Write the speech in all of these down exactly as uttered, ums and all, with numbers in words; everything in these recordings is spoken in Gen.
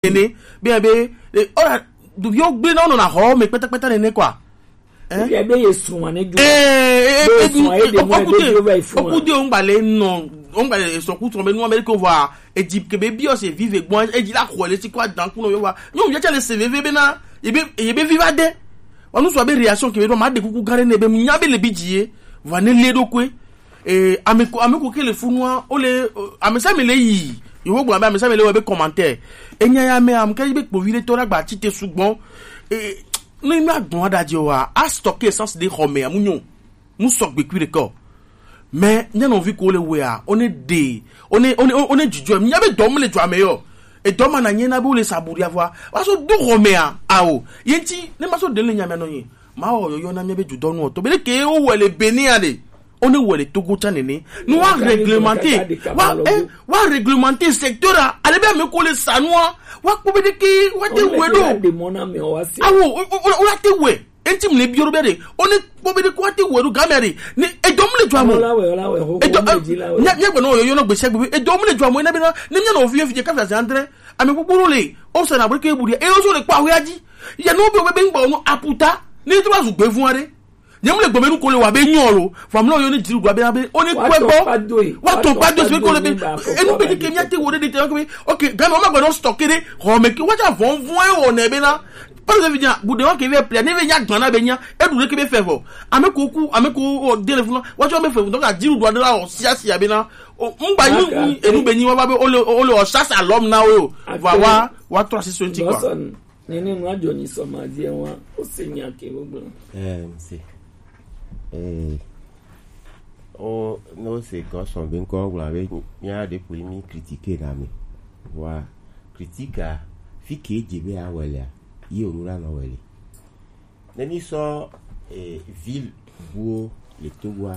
nene be be e, ora du yo gbe na no na ho me peta peta nene kwa. Eh? Ye be ye sun wa ne ju. Eh, eh, eh, eh, eh, eh, eh, okude, okude o ngba le no, o ngba le so ku to be nu America wa. E ji ke be bi o se vive gbon, e ji la ko le ti kwa dan ku no yo wa. Nyo mi ja le se veve be na, ye be, ye be viva de. Wa nu so be réaction ke be do ma de kuku gare ne be mu nya be le bi ji ye. Wa ne le do kwe. Eh, ame ko, ame ko ke le funu a, o le, eh, ame sa me le yi. Yo wo gbo ame, ame sa me le we be commentaire. Enya ya me am ke be kpo vi le to la gba ti te sugbon. Eh, no mi agbon adaje wa, a stock essence de home amunyo. Mu sɔgbe kui ɖe kɔ. Mais mía nɔvi ko le wea, o ne ɖe, o ne, o ne, o ne dzidzɔ. Mía be dɔ mu le dzɔ ame yɔ. Edɔ ma na nye na be wo le sabu ɖi avɔa. Wa so do xɔ mea, ao. Ye ŋuti, ne ma so ɖe le nya mea nɔ nye. Ma wɔ yɔyɔ na mía be dzodɔnu ɔtɔ. Be ɖe ke wo wɔ le Benin a ɖe. O ne wɔ le Togo tsa nene. Ne wa réglementer, wa, eh, wa réglementer secteur a. Ale be ame ko le sa nua. Wa kpɔ be ɖe ke, wa te wɛ ɖo. Awo, o, o, o, o la te wɛ. Enti mle bioro be de, o ne kpɔ be de ko ate wɛ ɖo game de. Ne edɔ mle dzɔ amo. Ola wɛ, ola wɛ, ho, edɔ, ho, ho, nya, nya gbe no yo, yo no gbese gbe. Edɔ mle dzɔ amo, ina be na, ne mia no fi fi ka fa andre. Ame gbogbo le, o se na bre ke buri. E o so le pa ho ya ji. Ya no be be ngba no aputa. Ne to ba zu gbe fun are. Nya mle gbe me nu ko le wa be nyo lo. Fa mle yo ne jiru gba be na be. O ne kwe gbo. Wa to pa do e. Wa to pa do e, se ko le be. E nu be de ke mia te wo de de te ko be. Okay, game o ma gbe no stock de. Ho me ke wa ja von von e wo ne be na. Pale ke vinya, gude wa ke ve plia, ne ve nya gbana be nya, e du le ke be fɛ vɔ. Ame ko ku, ame ko o de le funa, wa cho be fɛ, donc a diru do de la o sia sia be na. O ngba ni e nu be ni wa ba be o le, o le o chasse à l'homme na o. Wa, wa, wa trois six twenty quoi. Nene nua jɔ ni sɔ ma di wa, o se nya ke o gbɔn. Eh, c'est. Eh. O, no se ko sɔn be nkɔ gbla be, mia de ku mi critiquer na mi. Wa, critique a, fi ke je be a wele a, yi o nu la no wele. Ne mi sɔ, eh, ville buwo le Togo a,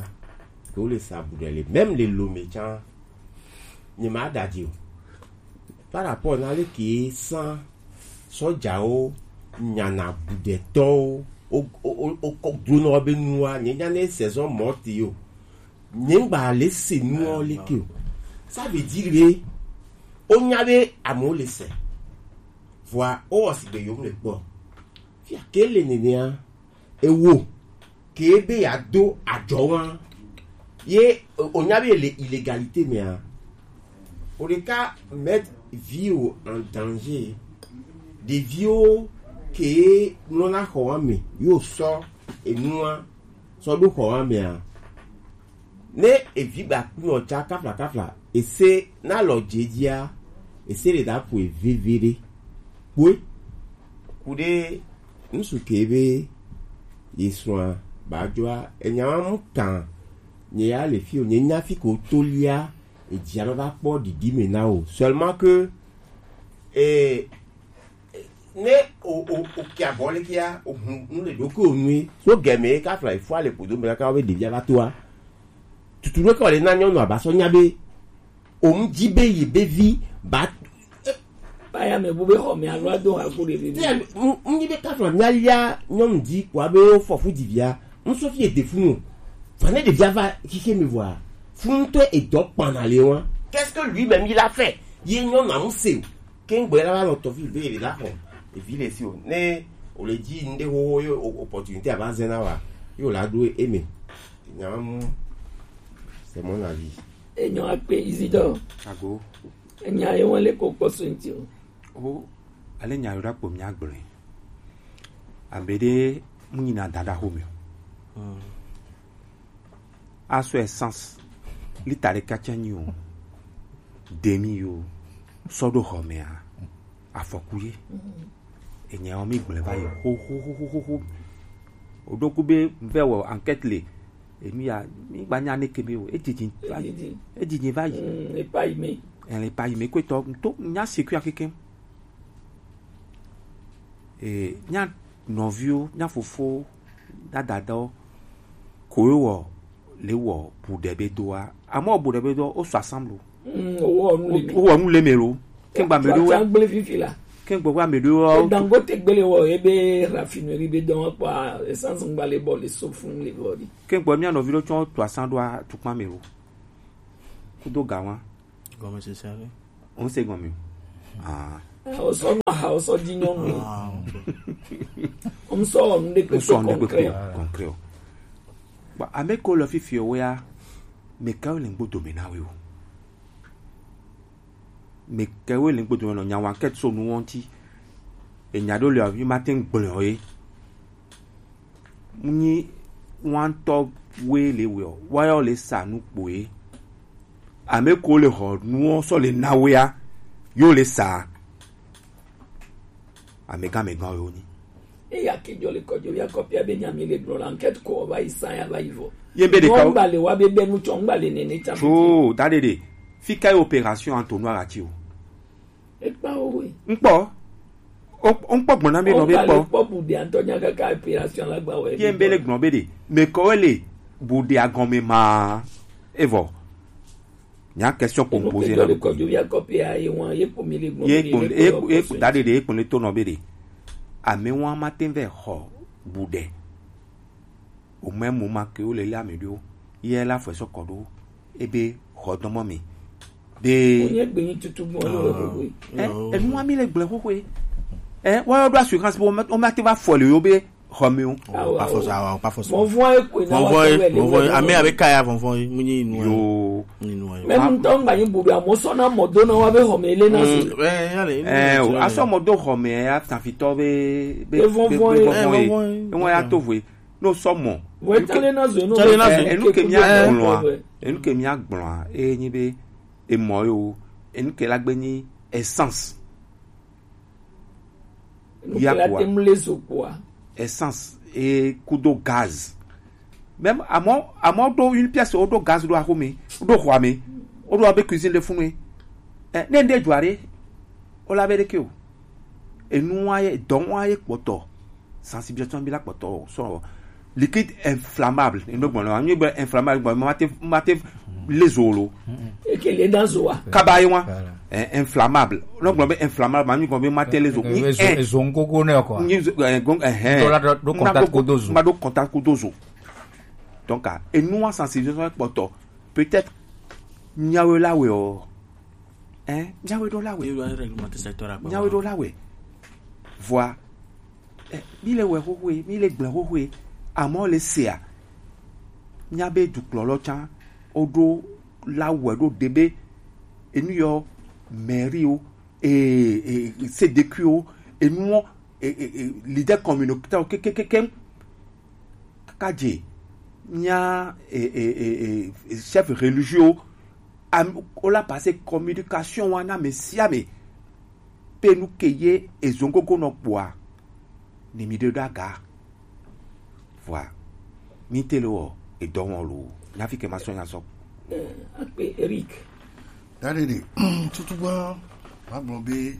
ke wo le sabu ɖe le, même le Lomé tsa, nye ma da di o. Par rapport na le ke san sɔjawo nyana budetɔwo, o, o, o, o, o dronɔ be nua, nye nya ne saison morte yo. Nye ngba le se nuwo le ke o. Ça veut dire be, o nya be amewo le se. Vɔa, o wɔ sigbe yom le kpɔ. Fia ke le nenea, ewo ke be ya do adzɔ wa. Ye, o, o nya be le illégalité mea. O ɖeka mettre vie o en danger. Ɖeviwo ke nɔna xɔ wa me, yo sɔ enua sɔ ɖo xɔ wa mea. Ne evi gba kunɔ tsa kafla kafla, ese na lɔ dze dzia, ese le da ƒo veve ɖe. Kpoe, ku ɖe ŋsu ke be ye srɔ̃a ba dzɔa, enya wa mu kan, nye ya le fi o, nye nya fi ko to lia, edzia ma va kpɔ ɖiɖi me na o. Seulement que, eh, ne o, o, o kia bɔ le kia, o hun, nu le ɖo ke o nui. So gɛmɛ ka fla ifo ale podo me kaka be ɖevia va toa. Tutu ɖo ke o le na nyɔnu aba sɔ nya be, o mu dzi be yi be vi ba. Ba ya me bu be xɔ me alo ado ha ku ɖevi. Te, mu, mu nyi be ka fla mia lia nyɔnu dzi ko abe o fɔ fu ɖevia. Mu so fi e de fu nu. Fa ne ɖevia va xixe me vɔa. Fu ŋutɔ edɔ kpana le wa. Qu'est-ce que lui-même il a fait? Ye nyɔnu amu se o. Ke ŋgbɔ la va nɔ tɔvi be le la xɔ evi le si o. Ne o le dzi ŋɖe xoxo ye o-, opportunité ava zɛ na wa, ye o la ɖo eme. Nya mu, c'est mon avis. Enyo akpe Isidore. Ago. Enya ye wɔn le ko kpɔ so ŋti o. O, ale nya yo ɖa kpɔ mia gblɔe. Abe ɖe mu nyina dada xo me o. Asɔ essence lita ɖeka tsɛ nyi o, demi yo, sɔ ɖo xɔ mea, afɔku ye. Enya wo mi gblẽ va yi xoxoxoxo. Woɖo ku be vɛ wɔ enquête le, emi ya mi gba nya ne ke mi o, edzidzi va yi, edzidzi va yi. Mm, epa yi me. Ele pa yi me kwetɔ, to nya sécurité keke. E, mía nɔviwo, mía fofowo, mía dadawo, ko ye wɔ le wɔ bu ɖe be doa. Amewo bu ɖe be doa, wo sɔ ensemble. Mm, wo wɔ nu le me. Wo wɔ nu le me lo. Kengba me ɖo. Tsa gble fifi la. Kengba wa me ɖo. Dangote gbele wɔ ebe raffinerie be dɔn kpa essence ngba le bɔ le so fun le bɔ di. Kengba mía nɔvi ɖo tsɔ to asan ɖoa tukpa me lo. Kudo gawa. Gɔmesese aɖe. Wose gɔme o. Ah. Osɔ nu aha osɔ di nyɔnu. Ŋsɔ nu ɖe kpekpe concret. Bon, ame ko le fifi o ya, me ka le ŋgbo dome na we o. Me ka we le ŋgbo dome nɔ nya wa enquête so nu wɔn ti. E nya ɖo le avi ma te ŋgblɔ ye. Nyi wantɔ we le we o. Wa yo le sa nu kpo ye. Ame ko le xɔ nuwo sɔ le na wea, yo le sa. Amegã megã yo ni. Eya ke jɔ le kɔjɔ ya kɔpia be nyami le gblɔ la enquête ko va yi sa ya va yi vɔ. Ye be de ka. Ngba le wa be be nu tsɔ ngba le nene tsa. Tso da de de. Fi ka opération entonnoir ati o. Ekpa o we. Nkpɔ. O nkpɔ gbɔna mi nɔ be kpɔ. Kpɔ bu de antɔ nya kaka opération la gba we. Ye be le gblɔ be de. Me ko le bu de agɔme ma. Evɔ. Nya question ko posé na. Ye kpo ye kpo da de de ye kpo le to nɔ be de. Ame wa ma te vɛ xɔ bu de. O mɛ mo ma ke o le le ame ɖo. Ye la fɔ sɔ kɔ ɖo. Ebe xɔ dɔmɔ mi. Be. Onye gbe nyi tutu gbɔn lo. Eh, enu wa mi le gblẽ xoxo ye. Eh, wa ɖo assurance bo o ma te va fɔ le yo be xɔ mi o. Awa, pas force, awa, pas force. Vɔvɔn ye koe na wa vɔvɔn ye, vɔvɔn ye. Ame abe kaya vɔvɔn ye, mu nyi nu. Yo. Nyi nu ye. Même ŋutɔ ŋgba nyi buɖo, amewo sɔna mɔ do na wa be xɔme ele na zo. Mm, eh, ya le, eh, o, asɔ mɔ do xɔme ya tafitɔ be, be, be vɔvɔn ye. Vɔvɔn ye. Ewa ya to voe. No sɔ mɔ. Vɔ etale na zo, no. Tale na zo. Eh, enu ke mi agblɔa, enu ke mi agblɔa, e nyi be, emɔ yo, enu ke la gbe nyi essence. Ya kpoa. Essence et kudo gaz. Même à mon à mon do une pièce o do gaz do akome, o do xɔame, o do abe cuisine de funu. Eh, ne nde juare. O la be de ke o. Enu wa ye, dɔn wa ye kpɔtɔ. Sensibilisation bi la kpɔtɔ. So liquide inflammable. Enu gbɔn la, enu be inflammable gbɔn, ma te ma te le zo lo. Eke le dan zo wa. Kaba ye wa. Voilà. Eh, inflammable. Donc, on inflammable, mais on va mater les os. Ni ezo, eh, ezo nkoko ne quoi. Ni ezo, eh, gon, eh, eh. Tola do, do contact ko dozo. Ma do contact ko dozo. Donc, ah, et nous, en sensibilisation, peut-être, nyawe la we o. Hein? Nyawe do la we. Nyawe do la we. Voilà. Eh, mi le wɛ xoxoe, mi le gblẽ xoxoe, amɔ le sea. Mía be dukplɔlɔ tsã, woɖo la wɛ ɖo ɖe be enu yɔ mairie o, e, e, C D Q o, enuɔ, e, e, e, leader communautaire o, kekekeke. Kaka dze, mía, e, e, e, e, chef religieux o, am, o la passer communication wa na ame sia ame. Pe nu ke ye ezongogo nɔ kpoa, ni mi ɖe ɖo aga. Vɔa, mi te le wɔ edɔ wɔn lo. Nyafi ke ma sɔ nya sɔ. Eh, akpe Eric. Da ɖe ɖe, tutu gba, ma gblɔ be,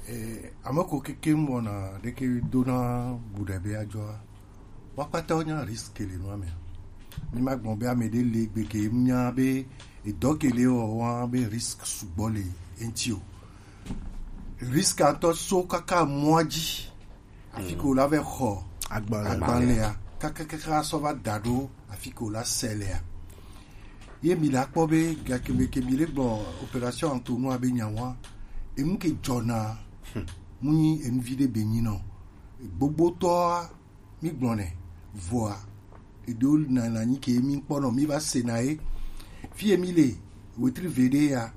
eh, ame ko keke wɔna ɖeke dona bu ɖe be adzɔa. Wa kpata wo nya risque le nua me. Mi ma gblɔ be ame ɖe le gbe ke nya be edɔ ke le wɔ wa be risque sugbɔ le eŋti o. Risque ŋutɔ so kaka mɔa dzi. Afi ke wòla vɛ xɔ agbalẽa. Agbalẽa. Kakakaka sɔ va da ɖo afi ke wòla se lea. Ye mi la kpɔ be gake be ke mi le gblɔ opération Antonua be nyawa. Enu ke dzɔna. Mu nyi enu vi ɖe be nyi nɔ. Gbogbotɔa mi gblɔnɛ, vɔa, eɖewo na na nyi ke mi kpɔnɔ, mi va sena ye. Fi ye mi le, wetri veɖe ya,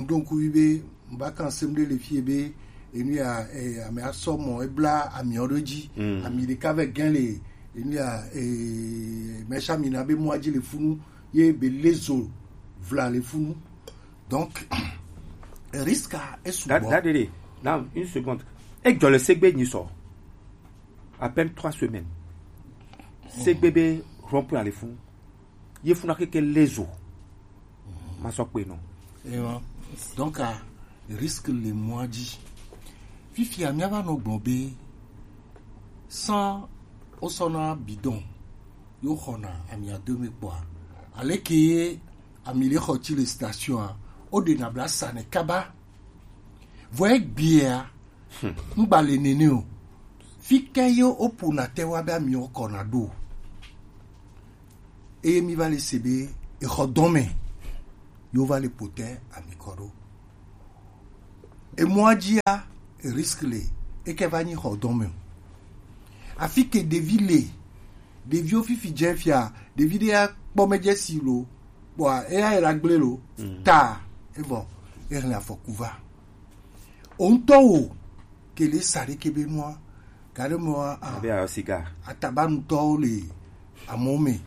donc wi be, mba kan sem ɖe le fi ye be, enu ya, eh, ame asɔ mɔ, ebla amiɔ ɖo dzi, ami ɖeka vɛ gɛn le, enu ya, eh, mɛsa mi na be mɔa dzi le funu, ye be lezo vla le funu. Donc, risque a, e sugbɔ. Da, da, de, de. Now, une seconde. E jɔ le segbe nyi sɔ. À peine trois semaines. Segbe be rond-point ale fun. Ye funa keke lezo. Ma sɔ kpe nɔ. Ewa. Donc, a risque le mɔa dzi. Fifia, mía va nɔ gblɔ be, sans wosɔna bidon, yo xɔna ami ado me kpɔa. Aleke ye ami le xɔ tsi le station a, o ɖe na bla sa ne kaba. Vɔ egbea, ŋgba le nene o. Fi ke ye woƒona te wa be ami wokɔna ɖo. Eye mi va le se be exɔ dɔme, yo va le ƒo te ami kɔ ɖo. Emɔa dzia, risque le, eke va nyi xɔ dɔn me o. Afi ke ɖevi le, ɖeviwo fifi dze fia, ɖevi ɖe ya kpɔ me dze si lo, kpɔa eya yi la gble lo, ta, evɔ, ehlẽ afɔku va. O ŋutɔ wo ke le sa ɖe kebe nua, gaɖe mɔa, a, Abe a siga. Atabanutɔwo le amewo me.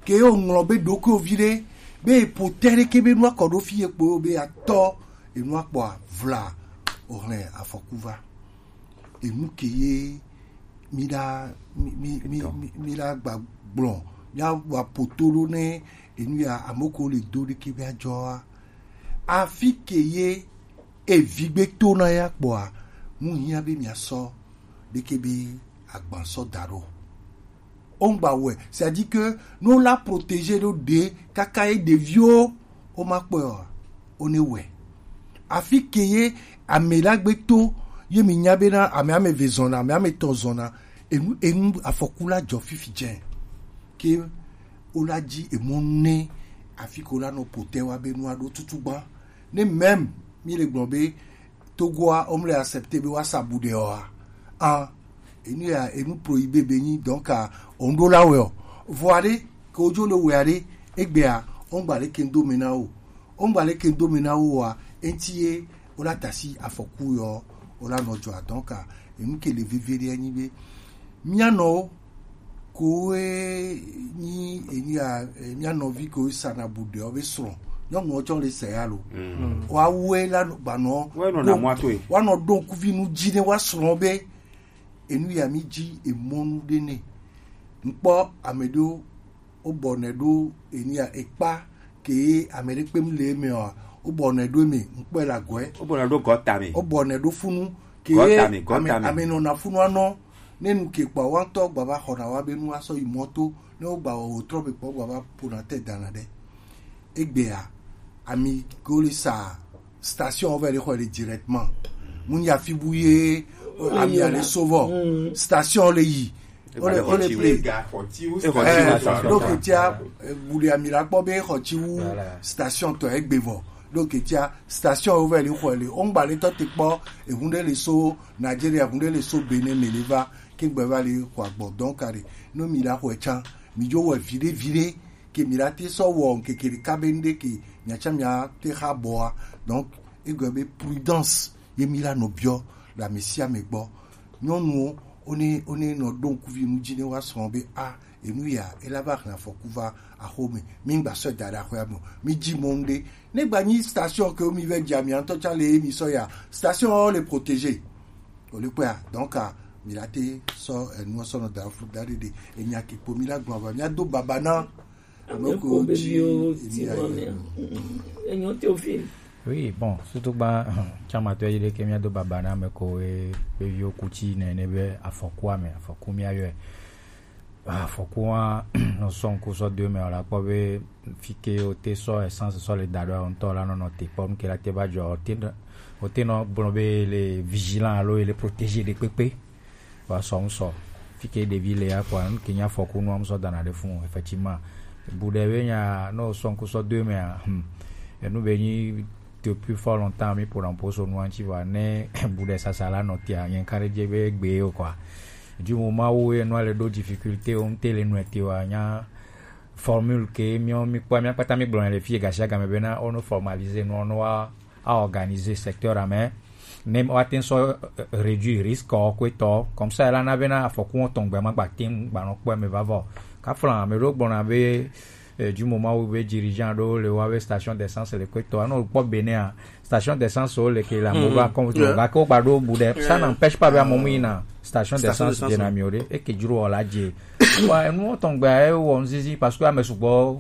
Ke wo ŋlɔ be ɖokuiwo vi ɖe, be epo te ɖe kebe nua kɔ ɖo fi ye kpo be atɔ enua kpɔa vla ohlẽ afɔku va. Enu ke ye mi la, mi, mi, mi, Etɔn. Mi, mi la gba gblɔ, mi wa poto ɖo ne enu ya amoko le do ɖe kebe adzɔa. Afi ke ye evigbe to na ya kpɔa, nu hiã be mi asɔ ɖe kebe agban sɔ da ɖo. O ŋgba wɛ, c'est-à-dire que no la protéger ɖo ɖe kaka ye ɖeviwo o ma kpɔe o, o ne wɛ. Afi ke ye ame la gbe to, ye mi nya be na ame ame ve zɔna, ame ame tɔ zɔna, enu, enu afɔku la dzɔ fifi dze. Ke o la dzi emɔ ne afi ko la nɔ potɛ wa be nua ɖo tutu gba. Ne même mi le gblɔ be Togoa, o mle accepter be wa sa bu ɖe o a. A, enu ya, enu prohibé be nyi, donc, a, o ŋɖo la wɛ o. Vɔ aɖe, ke o dzo le wɛ aɖe, egbea, o ŋgba le ke ŋdo me na o. O ŋgba le ke ŋdo me na o a, enti ye, o la tasi afɔku yɔ, o la nɔ dzɔ a. Donc, a, enu ke le veve ɖe nyi be, mia nɔ o, koe nyi enu ya, eh, mia nɔvi koe sana bu ɖe o be srɔ̃. Nyɔnu o tsɔ le se ya lo. Wa wɛ la gba nɔ. Wɛ nɔ na mɔ ato ye. Wa nɔ ɖo kuvi nu dzi ne wa srɔ̃ be, enu ya mi dzi emɔnu ɖe ne. Ŋkpɔ ame ɖewo, o bɔ nɛ ɖo enu ya ekpa ke ame ɖe kpem le eme o, o bɔ nɛ ɖo eme, ŋkpɔe le agɔe. O bɔ nɛ ɖo gɔta me. O bɔ nɛ ɖo funu ke Gɔta me, gɔta ame, me. Ame nɔ na funu anɔ, ne nu ke kpa wa ŋtɔ gba va xɔ na wa be nu asɔ yi mɔ to, ne o gba wɔ o trɔ be kpɔ gba va ƒo na te dana ɖe. Egbea, ami ko le sa station o vɛ le xɔ le directement. Mu nya fi bu ye, ami ale so vɔ. Station le yi. O le, o le ple. Donc, tia, eh, bu le ami la kpɔ be xɔ ti wu station tɔ egbe vɔ. Donc, tia, station o vɛ le xɔ le. O ŋgba le tɔ te kpɔ, ehun ɖe le so Nigeria, ehun ɖe le so Benin me le va, ke gbe va le xɔ agbɔ. Donc, are, no mi la xɔ tsan, mi dzo wɔ viɖe, viɖe, ke mi la te sɔ wɔ ŋkeke ɖeka be ŋɖe ke miatsa miate xa bɔa. Donc, egɔe be prudence ye mi la nɔ biɔ le ame sia ame gbɔ. Nyɔnuwo, wo ne, wo ne nɔ ɖo ŋkuvi nu dzi ne woasrɔ̃ be, a, enu ya, ela va hlẽ afɔku va axome. Mi ŋgba sɔe da ɖe axɔa me o. Mi dzi mɔ ŋɖe. Ne gba nyi station ke wo mi vɛ dzi amia ŋutɔ tsa le ye mi sɔ ya. Station wo le protégé. Wo le kpɔa, donc, a, mi la te sɔ enua sɔ nɔ da fu da ɖe ɖe. Enya ke kpo mi la gblɔ va. Mi ado baba na Ame ko dzi emi ayi. Enyo Théophile. Oui, bon, surtout gba, tsama to yi ɖe ke mia do baba na ame ko e, be viwo kuti ne, ne be afɔkua me, afɔku mia yɔe. Afɔkua, nɔ sɔ ŋku sɔ do me, o la kpɔ be fi ke o te sɔ essence sɔ le da ɖo, o ŋutɔ la nɔ nɔ te kpɔ, nu ke la te va dzɔ, o te nɔ, o te nɔ gblɔ be le vigilant alo le protégé ɖe kpekpe. Wa sɔ ŋu sɔ. Fi ke ɖevi le ya kpɔa, nu ke nya fɔku nua mu sɔ dana ɖe fun, effectivement. Bu ɖe be nya, no sɔ ŋku sɔ do me a, hmm. Enu be nyi depuis fort longtemps, mi ƒona ƒo so nua ŋuti va, ne bu ɖe sasa la nɔ tia, nye ŋka ɖe dze be gbe yo kɔa. Du moment où enua le ɖo difficulté, o ŋte le nua te wa, nya formule ke mi, mi kpɔa, mi kpata mi gblɔ le fi gasi agame be na, o no formaliser nua, no wa, a organiser secteur a me. Ne wa te sɔ, euh, réduire risque o ko etɔ. Comme ça, la na be na afɔku o tɔn gbe ma gba te gba nɔ kpɔ me va vɔ. Ka flan, me ɖo gbɔna be, euh, du moment où be dirigeant ɖo le wa be station d'essence le ko etɔ. Anɔ kpɔ Benin a, station d'essence o le ke la mo va comme ga ko gba ɖo bu ɖe. Ça n'empêche pas be amomu yi na station d'essence de na mi o ɖe. E ke dzro o la dze. Wa, enu o tɔn gbe a e wɔ nzizi parce que ame sugbɔ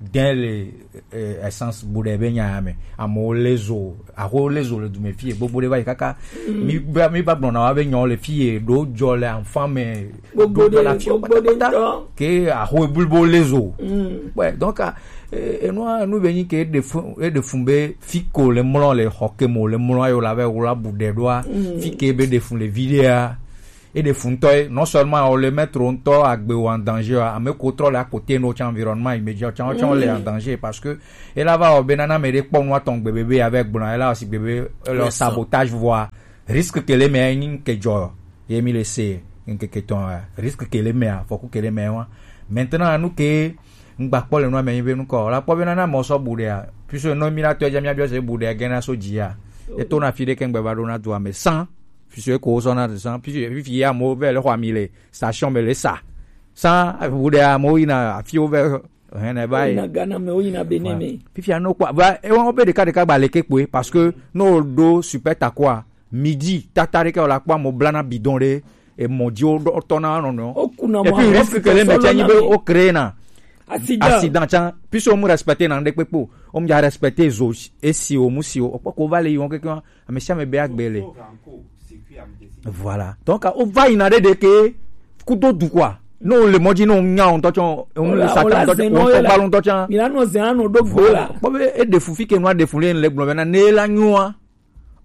dɛn le, eh, essence bu ɖe be nya ya me. Amewo le zo, aho le zo le du me fie, gbogbo ɖe va yi kaka. Mi va, mi va gblɔna wa be nyawo le fie, ɖo dzɔ le enfant me, gbogbo ɖe, la fie gbogbo ɖe kpata. Ke aho blibo le zo. Ouais, donc, ah, eh, enua, enu be nyi ke ɖe fun, e ɖe fun be fi ko le mlɔ le xɔ ke mo le mlɔ ayo la ve wla bu ɖe ɖoa, fi ke be ɖe fun le vi ɖea. Et des fouteux, non seulement on le met trop tôt à en danger, à me contrôler à côté, nos environnement immédiat, on les en danger parce que, et là va, on ben, on a mis des ponts, on tombe bébé avec blanc, et là aussi bébé, leur sabotage, voire risque que les mecs, que Joe, et mis les C, que ton, risque que les mecs, faut que les mecs, maintenant, nous que, ngba kpɔ le nua me nyi be nukɔ la kpɔ be nana mɔ sɔ bu ɖea, puisque nɔ mi la tɔ dza mi abiɔ se bu ɖea gɛna so dzia. Eto na fi ɖe kɛŋgbɛ va ɖo na dua me san, puisque ko sɔ na san, puisque fifi ya mo vɛ le xɔ ami le station me le sa san bu ɖea mo yina afiwo vɛ hɛn ne va yi. Yina Ghana me, woyina Benin me. Fifia no kpɔ va ewa wo be ɖeka ɖeka gba leke kpoe parce que no ɖo super takoa midi tata ɖe ke wòle akpɔ amewo blana bidon ɖe emɔ dzi wotɔna nɔnɔ. Wokuna mɔ. Et puis risque ke le me tsɛ nyi be wo créer na accident. Accident tsã, puisque wo mu respecter na ŋɖe kpekpe o, wo mu dza respecter zo esi o mu si o, okpɔ ko va le yi wɔn keke ame sia ame be agbe le. Voilà, donc o va yina ɖe ɖe ke kudo du quoi. No le mɔdzi no nya o ŋutɔ tsɔ o le satan ŋutɔ tsɔ o ŋutɔ gbalu ŋutɔ tsã. Mi la nɔ zɛn anɔ ɖo gbo la. Kpɔ be e ɖe fu fi ke nua ɖe fu le le gblɔ be na ne la nyoa.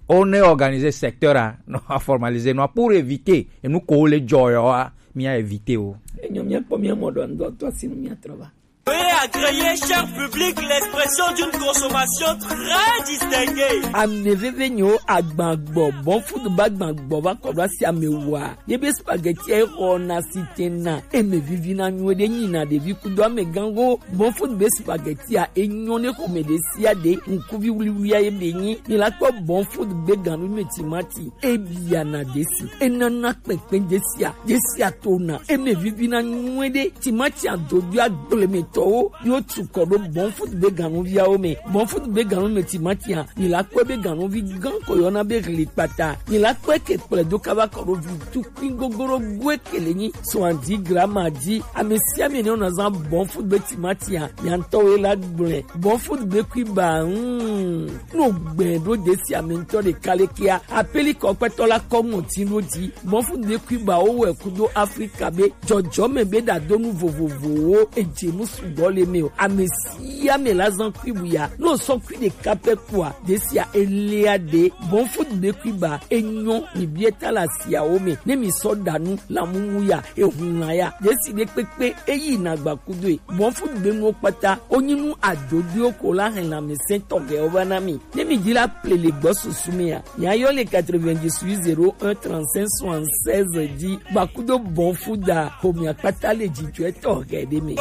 On est organisé secteur a, non, a formalisé non pour éviter et nous coller joyo a, mi a éviter o. Enyo mi kpɔ mi mo don do to sinu mi atrova. Veuillez agréer, cher public, l'expression d'une consommation très distinguée. Ame veve nyo agbagbɔ, bon food ba agbagbɔ va kɔ ɖo asi ame wa. Ye be spaghetti e xɔ na si tena, e me vivi na nyuie ɖe nyi na ɖevi kudo ame gango. Bon food be spaghetti a e nyɔ ne xɔme ɖe sia ɖe, ŋkuvi wuliwulia ye be nyi. Mi la kpɔ bon food be ganu me timati, e bia na desi, e nana kpɛnkpɛn desia, desia tona, e me vivi na nyuie ɖe. Timati a dodo agble me tɔwo yo tu kɔ ɖo bon food be ganu viawo me. Bon food be ganu me timati a, mi la kpɔ be ganu vi gan ko yɔna be hli kpata. Mi la kpɔ ke kplɛ do kaba kɔ ɖo vi tukui gogoro gue kele nyi soixante-dix grammes a di. Ame sia ame ne wona zan bon food be timati a, nya ŋutɔ wo la gblẽ. Bon food be kui ba, hmm. No gbɛ ɖo desi ame ŋutɔ ɖeka le kia. Apeli kɔ kpɛtɔ la kɔ ŋɔti ɖo di. Bon food be kui ba wo wɛ kudo Afrika be jɔjɔme be ɖadonu vovovowo edze nu sugbɔ le me o. Ame sia ame la zan kui bu ya. No sɔ kui ɖeka pɛ kua, desia elia ɖe. Bon food be kui ba enyɔ mi bie ta la siawo me. Ne mi sɔ ɖa nu la mumu ya, ehun la ya. Desi ɖe kpekpe eyi na gba kudo e. Bon food be nuwo kpata, o nyi nu adodoe ko la hɛn la mi sɛn tɔgɛwo va na mi. Ne mi di la ple le gbɔ susu mi a. Nya yɔ le quatre-vingt-dix-huit zéro un trente-cinq soixante-seize di. Gba kudo bon food a, ko mi akpata le jijɔ etɔ hɛ de mi.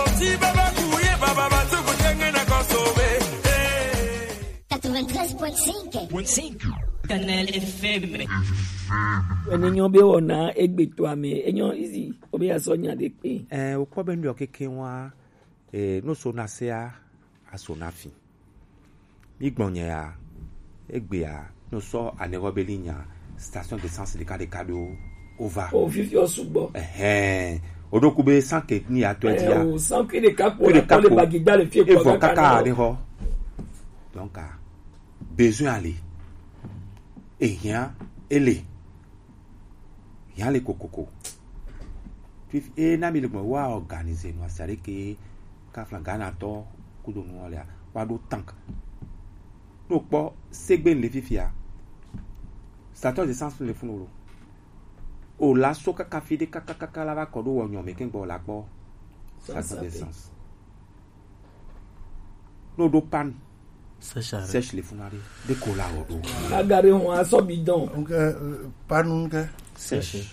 Quatre-vingt-treize point cinq. Kanal F M. Ene nyɔ be wɔna egbe to ame, enyɔ easy, obe ya sɔ nya de kpe. Eh, o kpɔ be nɖɔ keke wa, eh, no so na se a, a so na fi. Mi gbɔn nyɛ ya, egbe ya, no sɔ anɛgɔ be li nya, station d'essence ɖeka ɖeka ɖo, o va. O fifi o sugbɔ. Ɛhɛn, o ɖo ku be san ke ni ya tɔ di ya. Eh, o san ke ɖeka kpo la kɔ le bagi da le fie kɔ kaka ne xɔ. Donc, ah, besoin ale. Ehiã, ele. Hiã le kokoko. Puis, e na mi le gbɔn wa organiser no asa ɖe ke ka flan Ghana tɔ kudo nu lea, wa ɖo tank. No kpɔ segbe le fifia. Station d'essence le funu lo. O la so kaka fi ɖe kaka kaka la va kɔ ɖo wɔ nyɔ me ke gbɔ la kpɔ. Station d'essence. No ɖo panne. Sèche arrêt. Sèche le funa ɖe. De ko la wɔ ɖo. Aga ɖe hɔn asɔ bidon. Donc, euh, panne ke. Sèche.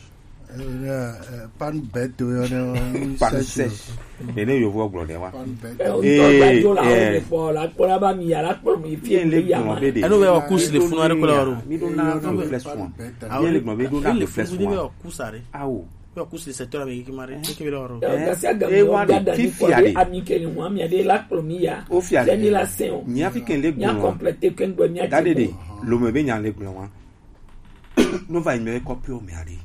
Euh, euh, panne bête, euh, euh, panne sèche. Sèche. Ene yovo gblɔ ɖe wa. Panne bête. Eh, o ŋutɔ gba do la wo le kpɔ la kpɔ la ba mi ya la kpɔ mi fi le ya ma. Eno be wa kus le funa ɖe ko la wɔ ɖo. Mi ɖo na reflexion. Mi le gbɔn be ɖo na reflexion. Awo. Yo, kusi le secteur ame kiki mare, kiki bela waro. Eh, gasi aga e mi wa de, da ni fifi kwa ade. Ami ke ni wa mi ade la kplo mi ya. O fi ade. Ni la sen o. Nya fi ke le gbɔn wa. Nya complète ke ngbe mi ade. Dade de, lo me be nya le gbɔn wa. No va ime kɔpi o mi ade.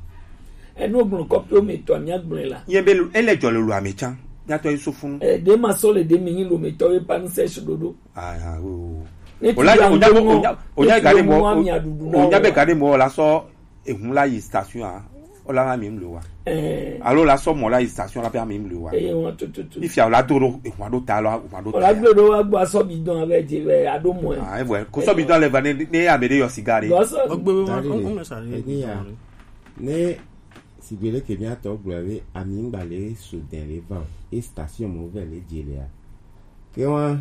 E no gbɔn kɔpi o mi to mi agbɔn la. Yen be ele jɔ le lo ame tsan. Nya to Yusufu. Eh, de ma so le de mi ni lo mi to e pa ni se dodo. Ah, ah, oui, oui, oui. O la, o nya, o nya, o nya gade mo, o nya be gade mo la so. Ehun la yi station a, o la na mi mli wa. Eh. Alo la sɔ mɔ la yi station la pe ami mli wa. Eh, wọn tututu. Ifia o la do ɖo, ehun a ɖo ta lɔ, ehun a ɖo ta. O la gbe ɖo wa gbɔ asɔ bidon avɛ dzi vɛ a ɖo mɔ. Ah, evɔ, ko sɔ bidon le va ne, ne ame ɖe yɔ siga ɖe. Gbɔ sɔ. Ogbe be ma, o, o me sa ɖe. Ne Sigbe leke mía tɔ gblɔ be ami ŋgba le so dɛn le van e station mo vɛ le dze le a. Ke wa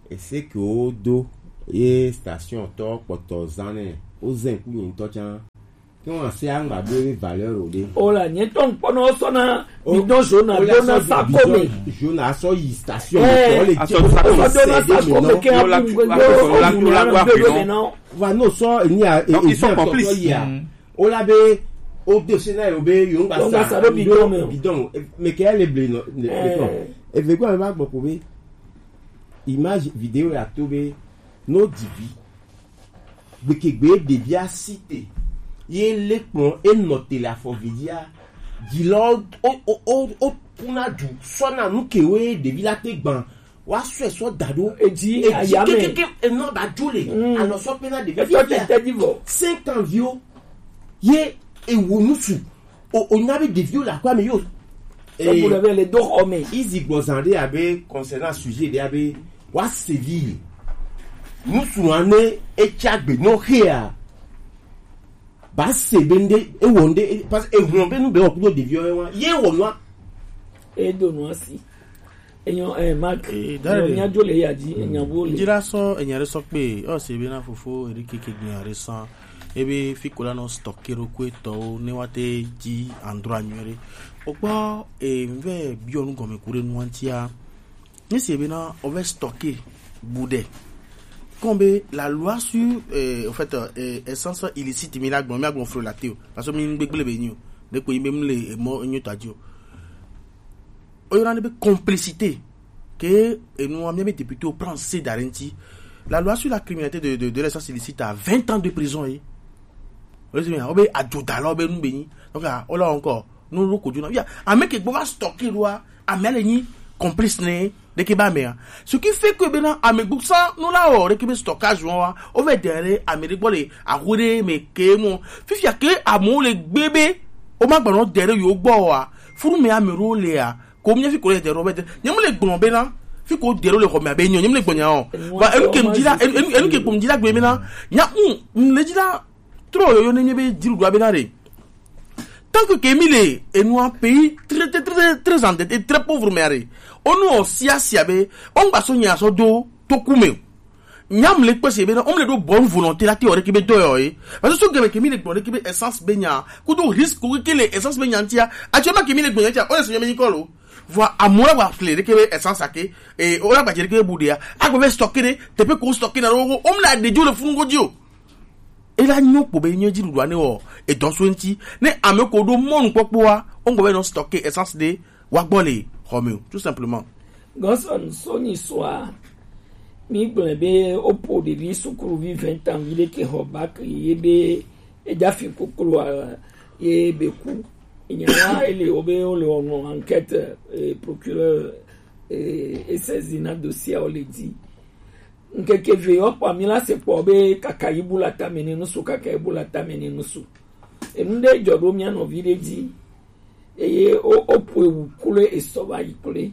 ese ke wo do ye station tɔ kpɔtɔ zan nɛ wo zɛn ku nyi ŋutɔ can. Ke wa se aŋgba do ye valeur o de. O la nye tɔ ŋkpɔ na wo sɔ na mi dɔn zo na do na sa ko me. Zo na sɔ yi station me tɔ le dze ko sɔ do na sa ko me ke a bu ŋgbe do o bu na ŋgbe do me na. Va no sɔ eni a e e sɔ tɔ yi a. O la be o de se na yo be yo ŋgba sa do bidon me bidon me ke le ble no le bidon. Eve gba me ba gbɔ ko be image vidéo ya to be no divi gbekegbe ɖevi asi te ye le kplɔn enɔ te le afɔ vi dzia dzi lɔ o o o o kuna du sɔ na nu ke wo ye ɖevi la te gban wa sɔe sɔ da ɖo edzi aya me kekeke enɔ ba dzo le alɔ sɔ pe na ɖevi fi te di vɔ cinq ans viwo ye ewo nusu o o nya be ɖeviwo le akɔa me yo. Ebu ɖe be le do xɔ me. Izi gbɔ zan ɖe abe concernant sujet ɖe abe wa sevi nusu ane etsa gbe no hea ba se be nde ewɔ nde parce que ehun be nu be wɔ kudo ɖeviwo wa ye wɔ nua. E do nua si. Enyo eh, Mark. Eh, dare. Enyo, míadzo le ya dzi, enya wo le. Ŋdzi la sɔ enya ɖe sɔ kpe, ɔ se be na fofo Eric ke gbe ya ɖe sã. Ebe fi ko la nɔ stocker ɖo kue tɔwo ne wa te dzi endroit nyuie ɖe. O kpɔ eh, ŋvɛ biɔ nu gɔme ku ɖe nua ŋtia. Ne se be na o vɛ stocker bu ɖe. Comme la loi sur eh, en fait eh, essence illicite mi la gbɔn mi la gbɔn flo la te o. Parce que mi gbegble be nyi o. Ne ko yi be mi le emɔ enyo ta dzi o. Oyɔna ɖe be complicité ke enua mía be député o prend se da ɖe ŋti. La loi sur la criminalité de de de l'essence illicite à vingt ans de prison ye. Wole se mi o be adzodalɔ be nu be nyi donc a o la encore nu ɖo ko dzona ya ame ke gbɔ va stocker ɖoa ame le nyi complice ne ɖeke ba mea ce qui fait que bena ame gbɔ sa nu la wɔ ɖeke be stockage wɔn wa o vɛ de ɖe ame ɖe gbɔ le aho ɖe me ke mɔ fifia ke amewo le gbe be o ma gbɔnɔ de ɖe yewo gbɔ wa funu me ame ɖewo lea ko míafi ko le de ɖo be de nye mu le gblɔ be na fi ko de ɖo le xɔ me abe nyɔ nye mu le gbɔ nya o va enu ke mu dzi la enu enu ke ko mu dzi la gbe be na nya mu mu le dzi la trɔ yoyo ne nye be dzi ɖuɖu abe na ɖe tant que ke mi le enu un pays très très très très endetté très pauvre me are onu o sia sia be o ngba so nya so do to ku me o Nyam le kpesi be na, on le do bonne volonté la ti ore ki be do yo e. Parce que so gebe ke mi le gbon ke be essence be nya. Ku do risque ke le essence be nya tia. Actuellement ke mi le gbon tia, on se mi ko lo. Voilà, amour wa clé ke be essence ake. E o la ba jere ke bu de ya. A ko be stocker de, te pe ko stocker na ro, on la de jo le fun go jo. E la nyo po be nyo ji du ne o. E don so nti. Ne ame ko do mo nu popo a, on go be no stocker essence de wa gbɔ le xɔ me o, tout simplement. Gɔsɔn sɔnyi sɔa, mi gblɔe be woƒo ɖevi sukuvi vingt ans vi ɖe ke xɔ bac ye be edafi kokloa ye be ku. Nya la ele wo be wo le wɔnɔ enquête eh, procureur eh, e saisie na dossier wo le di. Ŋkeke ve yɔ kpɔ mi la se kpɔ be kaka yi bu la tame ne nusu kaka yi bu la tame ne nusu. Enu ɖe dzɔ ɖo mia nɔvi ɖe dzi. Eye wo woƒo ewu kloe esɔ va yi kloe.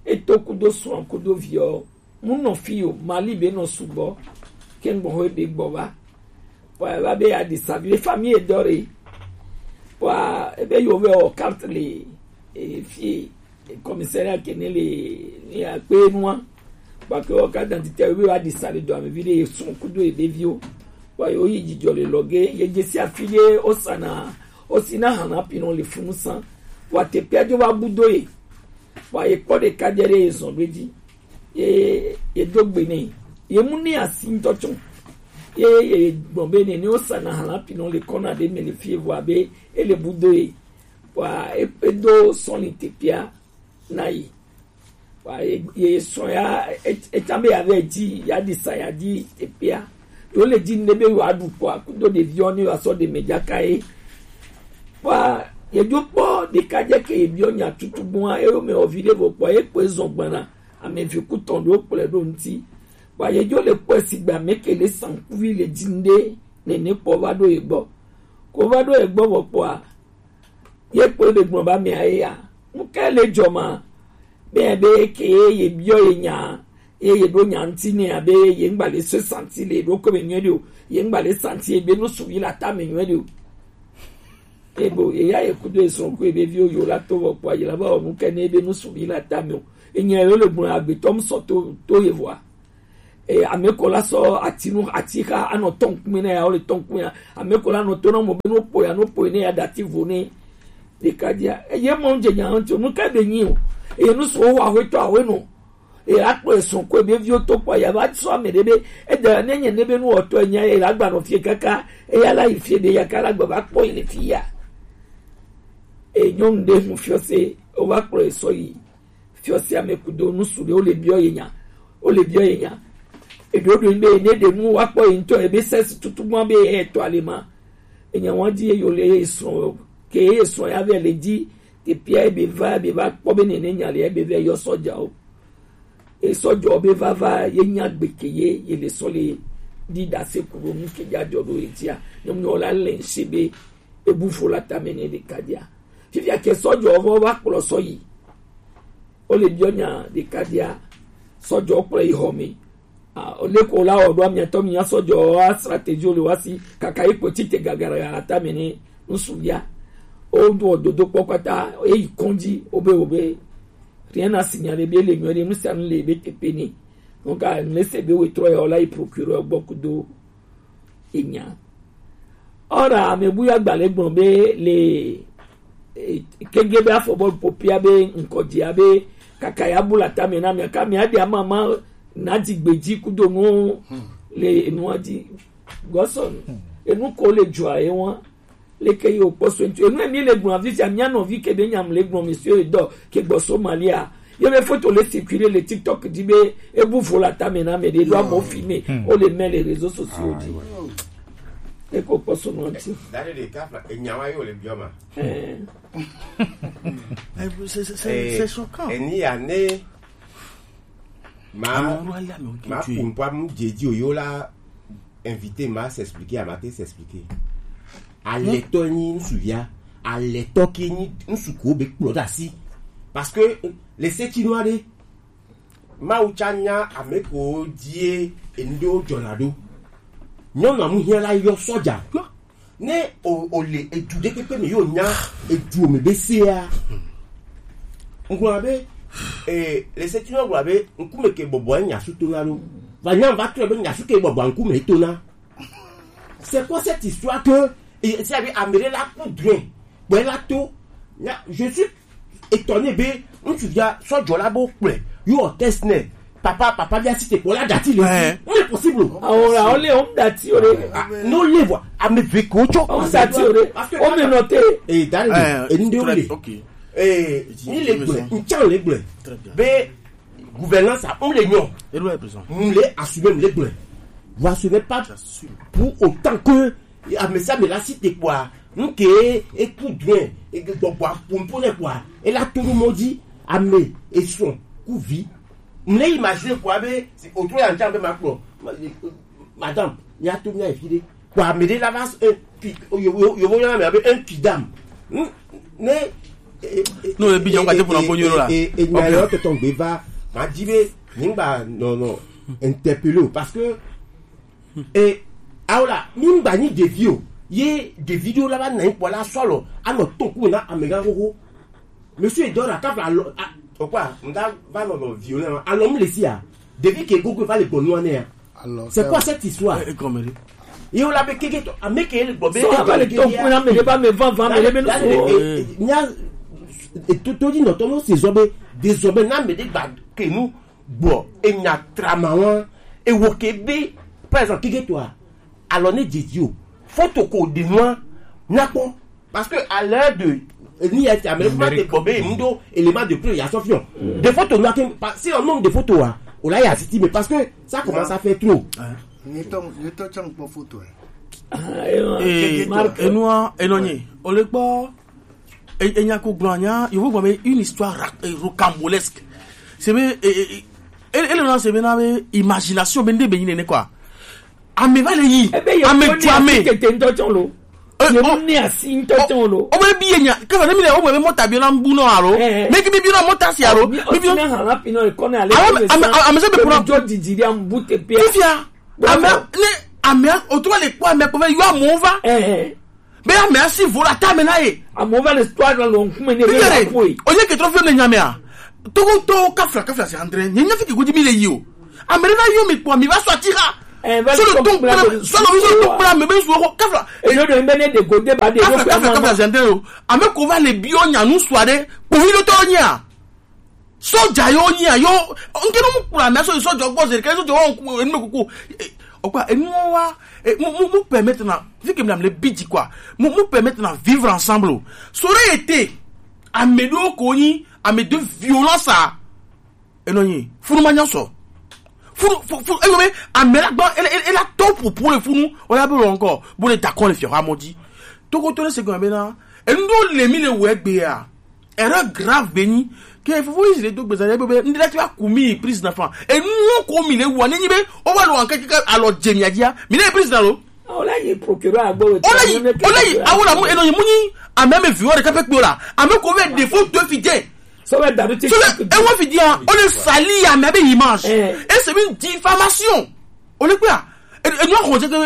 Eto kudo srɔ̃ kudo viɔ. Mu nɔ fi o, Mali be nɔ sugbɔ. Ke ŋgbɔ ho ebe gbɔ va. Pɔa eva be ya ɖi sa vi ɖe famille dɔ ɖe. Pɔa ebe yo ve o carte le e fi commissariat ke ne le ne akpe nua. Pɔa ke o carte d'identité yo be wa ɖi sa le dɔ ame vi ɖe ye srɔ̃ kudo ebe viwo. Pɔa yo yi dzidzɔ le lɔge ye dze si afi ɖe o sana o si na hana pinɔ le funu san. Pɔa te pia dzo va bu do ye. Pɔa ye kpɔ ɖeka dze ɖe ye zɔn ɖo edzi. Ye ye do gbe nɛ. Ye mu ni asi ŋutɔ tsɔ. Ye ye gbɔn be ne ne o sana hala pinɔ le kɔna ɖe me le fie vɔ abe ele bu do ye. Wa e e do sɔni tepia na ye. Wa ye ye sɔn ya e e tsan be ya vɛ dzi ya di sa ya di tepia. Yo le dzi ne be yo aɖu kɔ akudo ɖeviwo ne yo asɔ ɖe me dzaka ye. Wa ye dzo kpɔ ɖeka dze ke ye biɔ nya tutu gbɔn a eyo me ovi ɖe vɔ kpɔ ye kpɔ ezɔn gbana. Ame vi kutɔn ɖewo kplɔe ɖo ŋuti. Vɔa yedzo le kpɔe sigbe ame ke le sankuvi le dzi ŋɖe nene kpɔ va ɖo ye gbɔ. Ko va ɖo ye gbɔ vɔ kpɔa, ye kpɔe be gblɔ be amea ye ya. Nu kae le dzɔ ma? Be be ke ye biɔ ye nya, ye ye ɖo nya ŋuti nɛ abe ye ŋgba le se santi le ɖo ko me nyuie ɖe o. Ye ŋgba le santi ye be nu suvi le ata me nyuie ɖe o. Ebo eya ye kudo esrɔ̃ ko ebe viwo yo la to vɔ kpɔ ayila ba onu ke ne ebe nusuvi la tame o. Enya yo le gbɔn agbetɔ mu sɔ to to ye vɔa. E ame ko la sɔ atinu atixa anɔ tɔn kume na ya o le tɔn kume ya. Ame ko la nɔ to na mo be no po ya no po ne ya dati vo ne. Ɖeka dia eye mɔ dze nya ŋuti o nu ka be nyi o. Eye nu sɔ wa ho to awe no. Ela kplɔ esrɔ̃ ko ebe viwo to kpɔ ya va sɔ ame ɖe be eda ne nye ne be nu wɔtɔ enya ela gba nɔ fie kaka eya la yi fie be ya ka la gba va kpɔ yi le fi ya. E nyɔnu ɖe nu fiɔ se o va kplɔ esɔ yi fiɔ se ame kudo nu su ɖe o le biɔ ye nya o le biɔ ye nya eɖo ɖo be ne ɖe nu wa kpɔ yi ŋutɔ ebe sɛsi tutu gbɔn be etɔ ale ma enya wa di ye yo le ye srɔ̃ ke ye srɔ̃ ya vɛ le di Teƒea ebe va, ebe va kpɔ be nene nya le, ebe va yɔ sɔjawo. E sɔjawo be vava ye nya gbe ke ye ye le sɔ le ɖi ɖase ku ɖo nu ke dza dzɔ ɖo ye dzia. Nyɔnu la le ŋse be ebu fo la tame ne ɖeka dia. Fifia ke sɔjawo vɔ va kplɔ sɔ yi. Wo le biɔ nya ɖeka dia. Sɔjawo kplɔ yi xɔ me. Ah, leke wòle awɔ ɖo amiatɔ mi asɔ dzɔ wa stratégie le wa si kaka yi kpɔtsi te gagara atame ne ŋsuvia. Woɖo dodokpɔ kpata eyi kɔndzi wobe wobe rien n'a signé ɖe be le nyuie ɖe nu sia nu le be teƒe ne. Donc ah, ne se be wetrɔ ya wola yi procureur gbɔ kudo enya. Ora ame bu ya gbalẽ gblɔ be le eh, kege be afɔ bɔ popia be ŋkɔdzia be kaka ya bu la tame na mia ka mia ɖe ama ma na dzigbedzi kudo nu le enua dzi gbɔsɔn enu ko le dzɔa ye wa leke ye wokpɔ so ŋuti enu emi le gblɔ afi sia mia nɔvi ke be nyam le gblɔ monsieur edɔ ke gbɔ Somalia ye be foto le circuler le TikTok dzi be ebu vo la tame na ame ɖe ɖo amewo filme wo le mɛ le réseaux sociaux dzi eko kpɔ so nua ŋuti. Dade ɖeka fla enya wa ye wòle biɔ ma. Eh, c'est- c'est- c'est- c'est choquant. Eni ya ne ma Ame alo ale ame wo ma ke tue. Ku ŋkua mu dze dzi o yo la invité ma s'expliquer a ma te s'expliquer. Alɛtɔ nyi ŋsuvia, alɛtɔ ke nyi ŋsu ko be kplɔ ɖe asi. Parce que le setinu aɖe Mawu tsa nya ame ko die enuɖewo dzɔna ɖo. Nyɔnu amuhiã la yɔ sɔdza. Ne o o le edu ɖe kpekpe me yo nya edu me be sea. Ŋgblɔ be eh, le se tino gblɔ be ŋkume ke bɔbɔ nya su to na ɖo. Va nya va trɔ be nya su ke bɔbɔ ŋkume to na. C'est quoi cette histoire que c'est avec Améré la poudre? Bwela to. Je suis étonné be ŋutsu ya sɔjɔ la bo kplɛ yo test ne papa papa bia si te kpɔ la dati le si. Mais possible. Awo la ole o dati o de. No le vo ame ve ko tsɔ. O dati o de. O me note. Et dans le et nous le. Eh, ni le gblɛ, ntsan le gblɛ. Be gouvernance a, on le nyɔ. Mu le assumer mu le gblɛ. Voilà, ce n'est pas pour autant que amesa me la cité quoi. Nke eku duen, eke gbɔgbɔ apompo ne quoi. Et la tout le monde dit ame et son ku vi. Mu le imaginer quoi be autour ya ntsan be ma kpɔ. Madame, mi a to mi a fi de. Quoi, mais là va un pi- yo yo yo voyons mais avec un pidam. Hmm? Mais No, ebi dza ŋkate ƒo na ƒo nyuie ɖo la. E nya yɔ tɔtɔ gbe va ma di be nyigba nɔ nɔ interpeller o parce que e awo la nyigba nyi ɖevi o ye ɖevi ɖewo la va na nyi kpɔ la sɔlɔ anɔ to ku na amegã xoxo. Monsieur Edora kava alɔ a- o quoi nda va nɔ nɔ violent alɔ mu le si a ɖevi ke gogo va le gbɔnua ne ya. C'est quoi cette histoire? Ye wo la be keke to ame ke le gbɔ be so ava le to kuna me de ba me van van me de be no so nya to to di no to no se zo be de zo be na me de gba ke nu gbɔ enya trama wa e wo ke be par exemple keke to a alors ne didi o photo ko de noa na ko. Parce que à l'heure de ni ya ti amele kuma te gbɔ be mu do élément de preuve ya sɔ fiɔ de photo nua ke pa si on nombre de photos wa o la ya siti mais parce que ça commence à faire trop. Nyetɔ nyetɔ tsɔ nkpɔ photo ɛ. Ee, enua enɔ nyi o le kpɔ e- enya ko gblɔ nya yovo gblɔ be une histoire ra- eh, rocambolesque. C'est be e- e- e- ele na c'est be na be imagination be nde be nyi nene quoi. Ame va le yi. Ebe ye ame tu ame tete ŋutɔ tsɔ lo. Eh, ye mu ne asi ŋutɔ tsɔ lo. O be bi ye nya ke fa ne mi le o be mɔta bi na bu no alo. Me ki bi bi na mɔta si alo. Mi bi na ha la pi no e kɔne ale. Ame ame ame se be kuna jo didi dia mbu te pia. Fifia. Ame ne ame o to le kpɔ ame ko ve yo amo va. Eh. Be ame asi vo la tame na ye. Amewo va le to anɔ le ŋkume ne be Bigere, yeaƒoe. Onye ke trɔ fi ne nya mea. Togo to kafla kafla se andre. Nye nya fi ke gudi mi le yi o. Ame ɖe na yɔ mi kpɔ mi va sɔ ati ha. Eh, va Sɔ le sɔ to kpla kpla le sɔ le sɔ to kpla me be su ko kafla. Eɖo ɖe be ne ɖe gode ba ɖe Kafla ɖo kafla kafla se andre o. Ame ko va le biɔ nya nu sua ɖe. Kpovi ɖo tɔ nya. Soja yo nyi a yo. Nke no mu kura me so soja gbɔ se ke soja wo ku enu me kuku. Okwa enu wa mu mu mu permettre na vi ke mlam le bidji quoi. Mu mu permettre na vivre ensemble. Ça aurait été à mes deux cogni à mes deux violence à eno nyi funu ma nyaso funu funu eyo me amela gba ele ele la top pour le funu. On a besoin encore pour le d'accord le fier à modi. Tout contourner ce qu'on a maintenant. Et nous les mille ouais. Erreur grave beni ke fofo yi le do gbeza be be ndi lati wa kumi prise d'enfant. E nu ko mi le wa ni be o wa lo anke ka alo jemi adia mi le prise na lo. O la yi procureur agbo we. O la yi o la yi awo la mu eno yi mu ni a même viol de kape kpola a me ko ve défaut de fidien. So we daru ti so le e wa fidien o le sali a me be image. Et c'est une diffamation. O le pe a enu ahɔn jɛ kɛ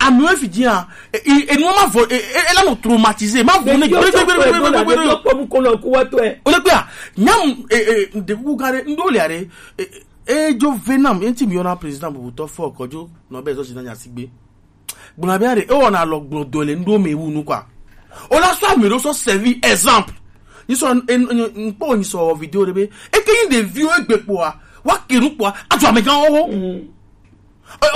ame fi di hã enu ma vɔ ela nɔ traumatisé ma vɔ ne gbɛrɛgbɛrɛgbɛrɛ. O le pe a nyam ɖekuku gã ɖe ŋɖo le aɖe edzo vɛ nam ŋti mi yɔna président bubutɔ fɔ kɔdzo nɔ bɛ zɔ si na nya si gbe gbɔna bɛ aɖe ewɔ na lɔ gblɔ dɔ le ŋɖo me wu nu kɔa o la sɔ ame ɖo sɔ servi exemple. Nyisɔ ŋkpɔ nyisɔ vidéo ɖe be eke yi ɖeviwo egbe kpɔa wa ke nu kpɔa adzɔ amegãwo ho. Obe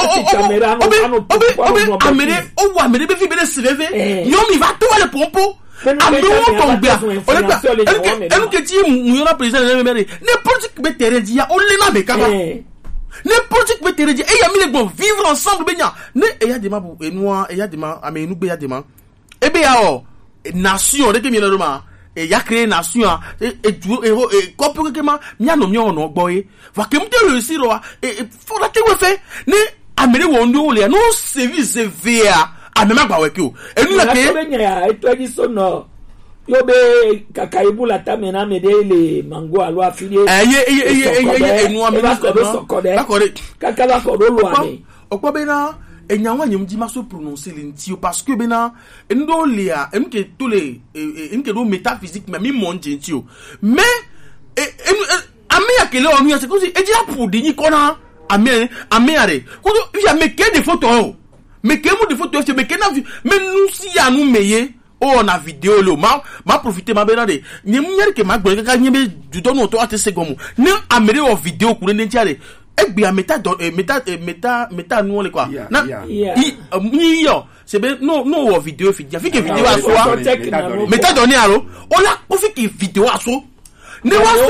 obe obe ame ɖe owu ame ɖe be fi be ɖe si veve nyɔmi va to le pompo ame wo tɔ gbea o le gbea enu ke ti mu yɔna président le mɛmɛ ɖe ne politique be terrain dzi ya o le na me kaba ne politique be terrain dzi eya mi le gbɔ vivre ensemble be nya ne eya de ma bu enua eya de ma ame enu gbe ya de ma ebe ya o nation ɖe ke mi na ɖo ma eya créer nation a edu eho kɔpu keke ma mia nɔ mia nɔ gbɔ ye. Vake mu te réussir wa e e fo la te we fe ne ame ɖe wɔ ŋɖewo lea ne wo sevi zevea ame ma gba wɛ ke o enu la ke. Be nya ya etɔ dzi so nɔ yo be kaka ibu la tame na ame ɖe le mango alo afi ɖe eye eye eye eye eye enu ame eva kɔ ɖo sɔkɔ ɖe kaka va kɔ ɖo lo ame. Okpɔ bena enya wa nyem dzi ma so prononcer le ŋti o parce que bena enu ɖewo lia enu ke to le enu ke ɖo métaphysique mais mi mɔ ŋdze ŋti o mais enu ame ya ke le ɔnu ya c'est comme si edzi la pu ɖi nyi kɔ na ame ame ya ɖe kodo ya me ke de photo o me ke mu de photo se me ke na vi me nu si ya nu me ye o na vidéo le o ma ma profiter ma be na de nye mu nya ke ma gbɔ kaka nye be dudɔ nu to ate se gomo ne ame ɖe wɔ vidéo ku ne ne tia de egbea meta dɔ eh, meta eh, meta meta nuwo le quoi na i eh, mi yɔ c'est be no no wɔ vidéo fi dia fi ke vidéo aso a meta dɔ ne alo o la o fi ke vidéo aso ne wa so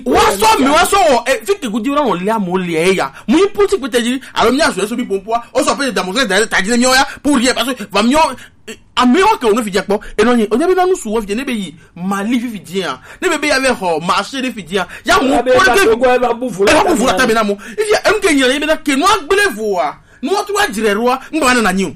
wa so mi wa so wɔ eh, fi ke gudi wɔ le amo le ya mu yi politique peut dire alors mi aso eso bi pompo o so pe da mo se da ta dire mi o ya pour rien parce que va mi o Amewo ke wònɔ fifia kpɔ enɔ nyi wònye be na nu su wɔ fifia ne be yi mali fifia ne be be ya be xɔ marché ɖe fifia ya mo kpɔ ɖe ke eva bu fu la tame na mo fifia enu ke nyina ye be na ke nua gblẽ voa nua tu wa dzre roa ŋgba na na nyi o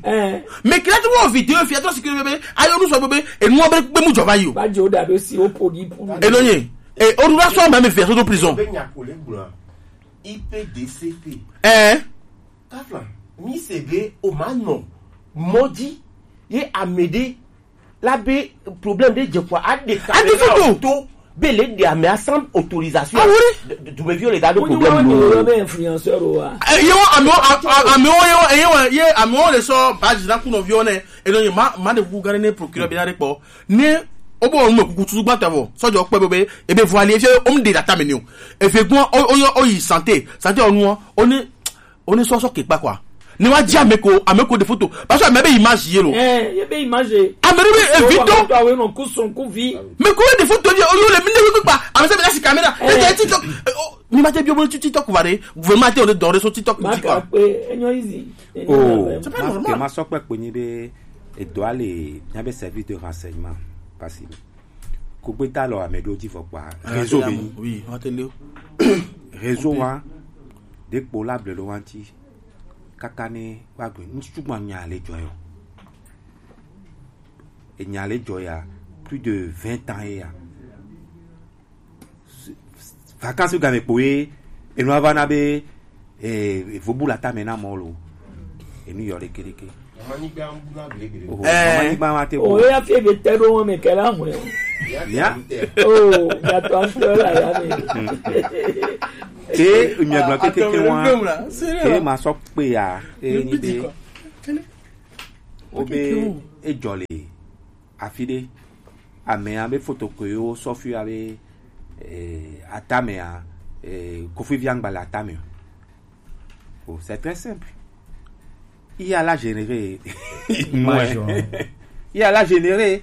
me kira tu wɔ video fia tɔ si ke be be ayo nu sɔ be be enua be be mu dzɔ va yi o. Ba jo da do si o po di pu. Enɔ nyi e o ɖu la sɔ ma me fia so do prison. Be nya ko le gblɔ I P D C P. Ɛɛ. Kafla, mi se be o ma nɔ mɔ dzi ye ame ɖe la be problème ɖe dze kɔa aɖe ka aɖe fi do to be le ɖe ame a sans autorisation. Awore. Dumeviwo le da ɖo problème lo. Be influenceur o wa. Ye wo amewo amewo ye wo ye wo ye amewo le sɔ badzi na kunɔviwo ne eno ye ma ma ɖe kuku gã ɖe ne procureur be na ɖe kpɔ ne o bo nu kuku tutu gbata vɔ sɔjɔ kpɛ be be ebe vɔ ali efia o mu ɖe ɖe atame ni o efe gbɔ o o yɔ o yi santé santé o nu o ne o ne sɔsɔ ke kpa quoi ne wa dzi ame ko ame ko de photo parce que ame be image ye lo. Ɛɛ ye be image. Ame ɖe be evi tɔ. Awo enɔ ku sɔn ku vi. Me ko de photo ye o yo le mi ne ko kpa ame se be la si caméra e de TikTok. Ni ma te bi o bo tu TikTok va de gouvernement te o de dɔ de so TikTok ti quoi. Pe enyo easy. Oh. C'est pas normal. Ma sɔ kpɛ kpe nyi be edɔ ale nya be service de renseignement parce que Kugbe ta lɔ ame ɖewo dzi vɔ kpa réseau be nyi. Oui, on te leo. Réseau wa ɖe kpo la ble ɖo wa ŋti kaka ne wa gbe ŋutsu ma nya le dzɔ yɔ. Enya le dzɔ ya plus de vingt ans ye ya. Vacances game kpo ye enua va na be eh vobu la tame na mɔ lo. Enu yɔ ɖeke ɖeke. Oh, eh, mama nyigba ma te o bo. Ya fie be te ɖo wɔn me ke la hwe o. Ya. Oh, ya to an to la ya me. Ke mi agba keke ke wa. Ke ma so pe ya. E ni de. O be e jole. Afi ɖe, amea be foto ke yewo sɔ fi abe, eh, atamea, eh, Kofi Viangba le atame o. Oh, c'est très simple. I ya la générer. Image, ouais. I ya la générer.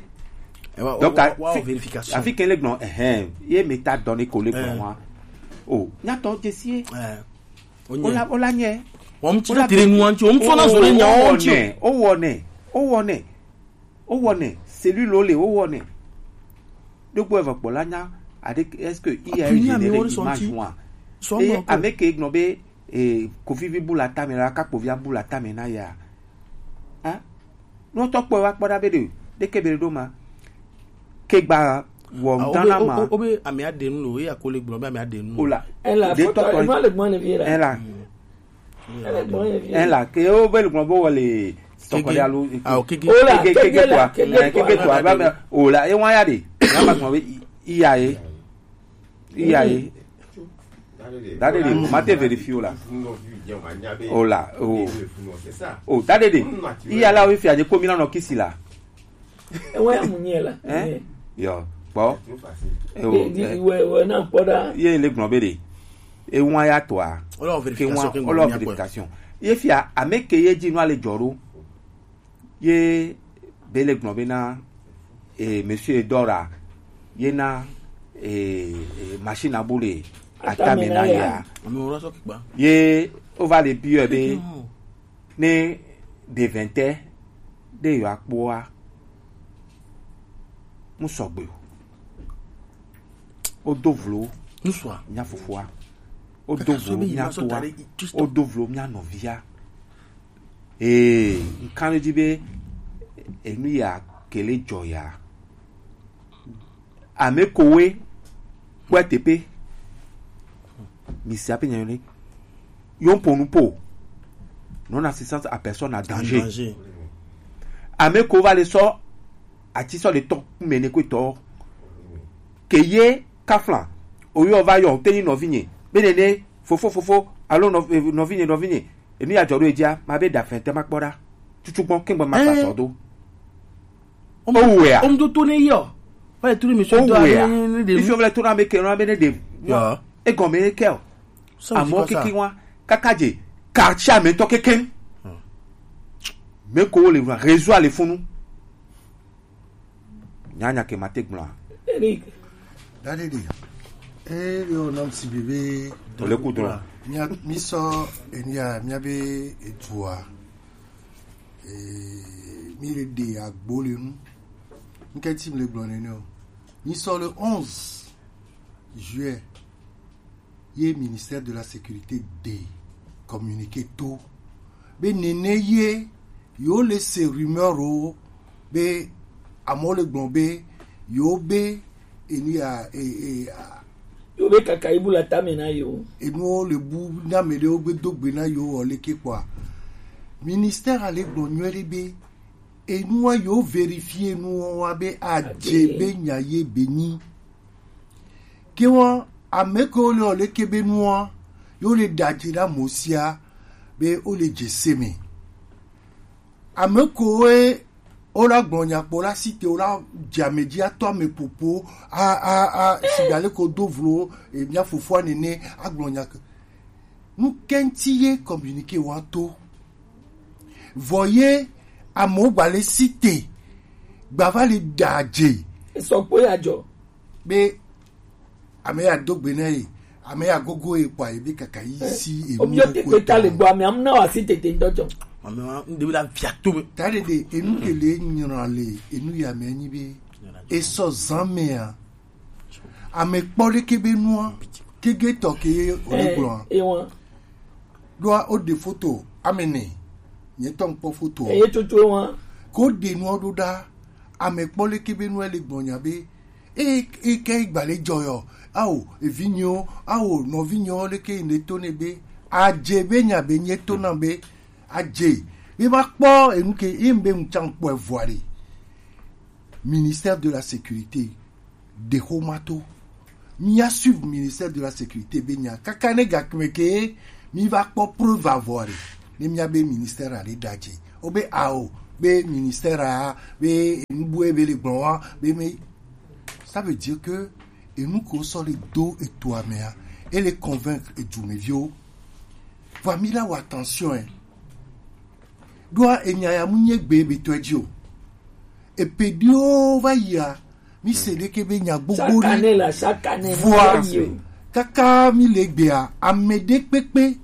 Donc, wa, wa, afi, vérification. Afi ke le gblɔ, eh, ye me ta donné ko le gblɔ wa. Oh, nya tɔ jesie. Eh. O la, o la nye. Wɔm tsi tere nu wɔm tsi, wɔm sɔ na zɔ ɖe nya wɔm tsi. O wɔnɛ, o wɔnɛ, o wɔnɛ, celui lo le, o wɔnɛ. Ɖogbo evɔ kpɔ la nya, aɖe, est-ce que il y a eu généré image wa? Eye ame ke gblɔ be, eh, Kofi vi bu la tame la, Kakpovia bu la tame na ya. Hein? Nutɔ kpɔ wa kpɔ ɖa be ɖe, ɖeke be ɖo ma. Ke gba wɔ ŋutɔ na ma. O be amea ɖe nu lo, eya ko le gblɔ be amea ɖe nu. O la. Ela de foto, tɔtɔ ema le gbɔn le vi la. Ela. Ela ke o be le gbɔn bo wɔ le sɔkɔ de alo. Ah, o keke. O la, keke, keke keke la, to a. Keke to a. Keke to a. Ba me, o la, e wa ya de. Ya ma gbɔn be i, i ya ye. I ya ye. Dadede, ma te vérifier o la. O la, o. O, dadede. I ya la o fi aje ko mi na no kisi la. E wa ya mu nye la. Hein? Yo, kpɔ. E o. Di, di, eh, we, we na kpɔ ɖa. Ye le gblɔ be ɖe. E wa ya to a. O la vérification, ke wa, o la vérification. Ye fia, ame ke ye dzi nu ale jɔ ɖo. Ye be le gblɔ be na, eh, monsieur Edora, ye na, eh, eh, machine à bouler atame na ya. Ame wo sɔ kikpa. Ye o va le biɔ be ne de vente de yo akpoa. Mu sɔgbe o. O do vlo. Ŋsua. Mia fofoa. O do vlo mia toa. O do vlo mia nɔvia. Ee, nkan ɖe dzi be enu ya kele dzɔ ya. Ame kowe kpɔe teƒe. Mi se aƒe nyanyɔne. Yo ƒo nu po. Non assistance à personne à danger. Danger. Ame ko va le sɔ ati sɔ le tɔ kume ne ko tɔ. Ke ye kafla. Oyo va yɔ te ni nɔvinye. Be nene fofo fofo alo nɔ-, eh, nɔvinye nɔvinye. Enu ya dzɔ ɖo edzia, ma be ɖa fɛn te ma kpɔ ɖa. Tutu gbɔn kengbe ma fa sɔ do. O wea. O mu to to ne yɔ. Va le turu mi so do ne de. Ifi o le turu ame ke, ame ne de. Ya. E gɔme ke o. Amɔ keke wa. Kaka dze. Quartier ame tɔ keke. Me ko le réseau ale funu. Nyanya ke mate gblɔa. Eric. Dadede. Eh, yo, nam si bebe. Ole ku drɔn. Mia, mi sɔ, enia, mia be edua. Eh, mi le de agbo le nu. Nke ti mi le gblɔ nene o. Mi sɔ le onze juillet. Ye ministère de la sécurité de communiqué to. Be nene ye, yo le se rumeur o, be amɔ le gbɔn be, yo be, enu ya, e, e, a, yo be kaka ibu la tame na yo. Enu o le bu na me de o gbe do gbe na yo o le ke kpɔa. Ministère a le gbɔn nyuie ɖe be, enu wa yo vérifier enu wa be adze be nya ye be nyi. Ke wɔn ame ke wo le ɔ leke be nua, yo le ɖadze ɖa mo sia be wo le dze se me. Ame ko wo la gblɔ nya kpɔ la si te wo la dze ame dzi atɔ ame popo a, a, a, siga le ko do vlo, e, mia fofoa nene a gblɔ nya ke. Nu kɛnti ye communiqué wa to. Vɔ ye amewo gba le si te. Gba va le ɖadze. Esɔ kpo ya dzɔ. Be ame ya do gbe na ye, ame ya gogo ye kpɔ ye be kaka yi si enu. Omi yo te ko ta le gbɔ, ame am na wa si tete ŋdɔ dzɔ. Ame wa ŋde la via to me. Ta de de enu ke le nyra le enu ya me nyi be esɔ zan me ya. Ame kpɔ ɖeke be nua, kege tɔ ke ye o le gblɔa. Ɖoa o ɖe foto ame ne, nye tɔ ŋkpɔ foto. Eye tsotso wa. Ko ɖe nua ɖo ɖa, ame kpɔ ɖeke be nua le gbɔnya be, e, e ke gba le dzɔ yɔ, ao, evinyewo, ao, nɔvinyewo ɖeke yi ne to ne be, adze be nya be nye to na be, adze, Be ma kpɔ enu ke ye be ŋutsa ŋkpɔ evoa ɖe. Ministère de la sécurité de xomato. Mi ya suivre ministère de la sécurité be nya kaka ne gakme ke mi va kpɔ preuve avɔ ɖe. Ne mi ya be ministère a ɖe ɖadze. O be ao be ministère a be enu bue be le gblɔ wa be me. Ça veut dire que enu ko sɔ le do eto amea, e le convaincre edumeviwo. Vɔ mi la wa attention, hein. Ɖoa enya ya mu nye gbe be tɔe dzi o. Epe ɖiwo va yia, mi se ɖeke be nya gbogbo ɖi. Chaque année la, chaque année, vɔa, mi va yi o. Kaka mi le gbea, ame ɖe kpekpe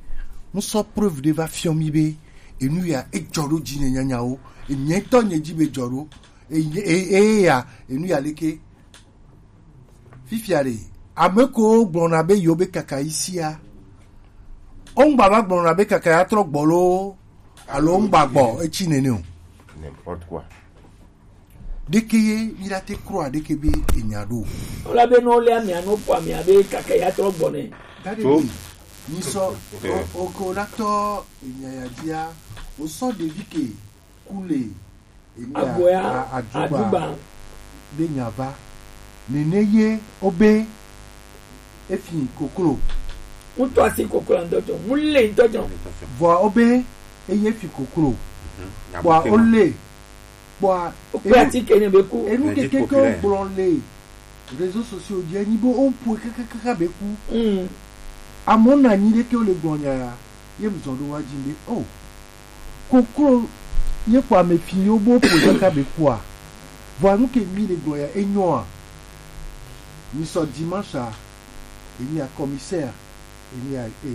mu sɔ preuve ɖe va fiɔ mi be enu ya edzɔ ɖo dzi nye nyanyawo. Enye tɔ nye dzi be dzɔ ɖo. Eye, eye, eye ya, enu ya leke. Fifia ɖe, ame ko gblɔna be yewo be kaka yi sia. Wo ŋgba va gblɔna be kaka ya trɔ gbɔ loo, alo wo ŋgba gbɔ, etsi nene o. N'importe quoi. Ɖeke ye mi la te kura ɖeke be enya ɖo. Wole be no le amia no po amia be kaka ya trɔ gbɔ ne. Dade be, mi sɔ, o, o ko la tɔ enya ya dia, o sɔ ɖevi ke ku le emi a- Agboya a- adugba adugba. Be nya va. Nene ye o be efi koklo. Ŋutɔ asi koklo ŋutɔ tsɔ. Mu le ŋutɔ tsɔ. Vɔa o be eye fi koklo. Kpɔa o le. Kpɔa o kpe enu- ati ke ne be ku. Enu keke ke o gblɔ le réseaux sociaux dzi enyi be o ƒoe kakakaka be ku. Mm. Amewo na anyi ɖe ke wo le gblɔ nya ya. Ye mu zɔ ɖo wa dzi be o. Koklo ye kpɔ ame fi yo bo ƒoe kaka be kua. Vɔa nu ke mi le gblɔ ya enyoa. Mi sɔ dimanche a, emi a commissaire, emi a e, e,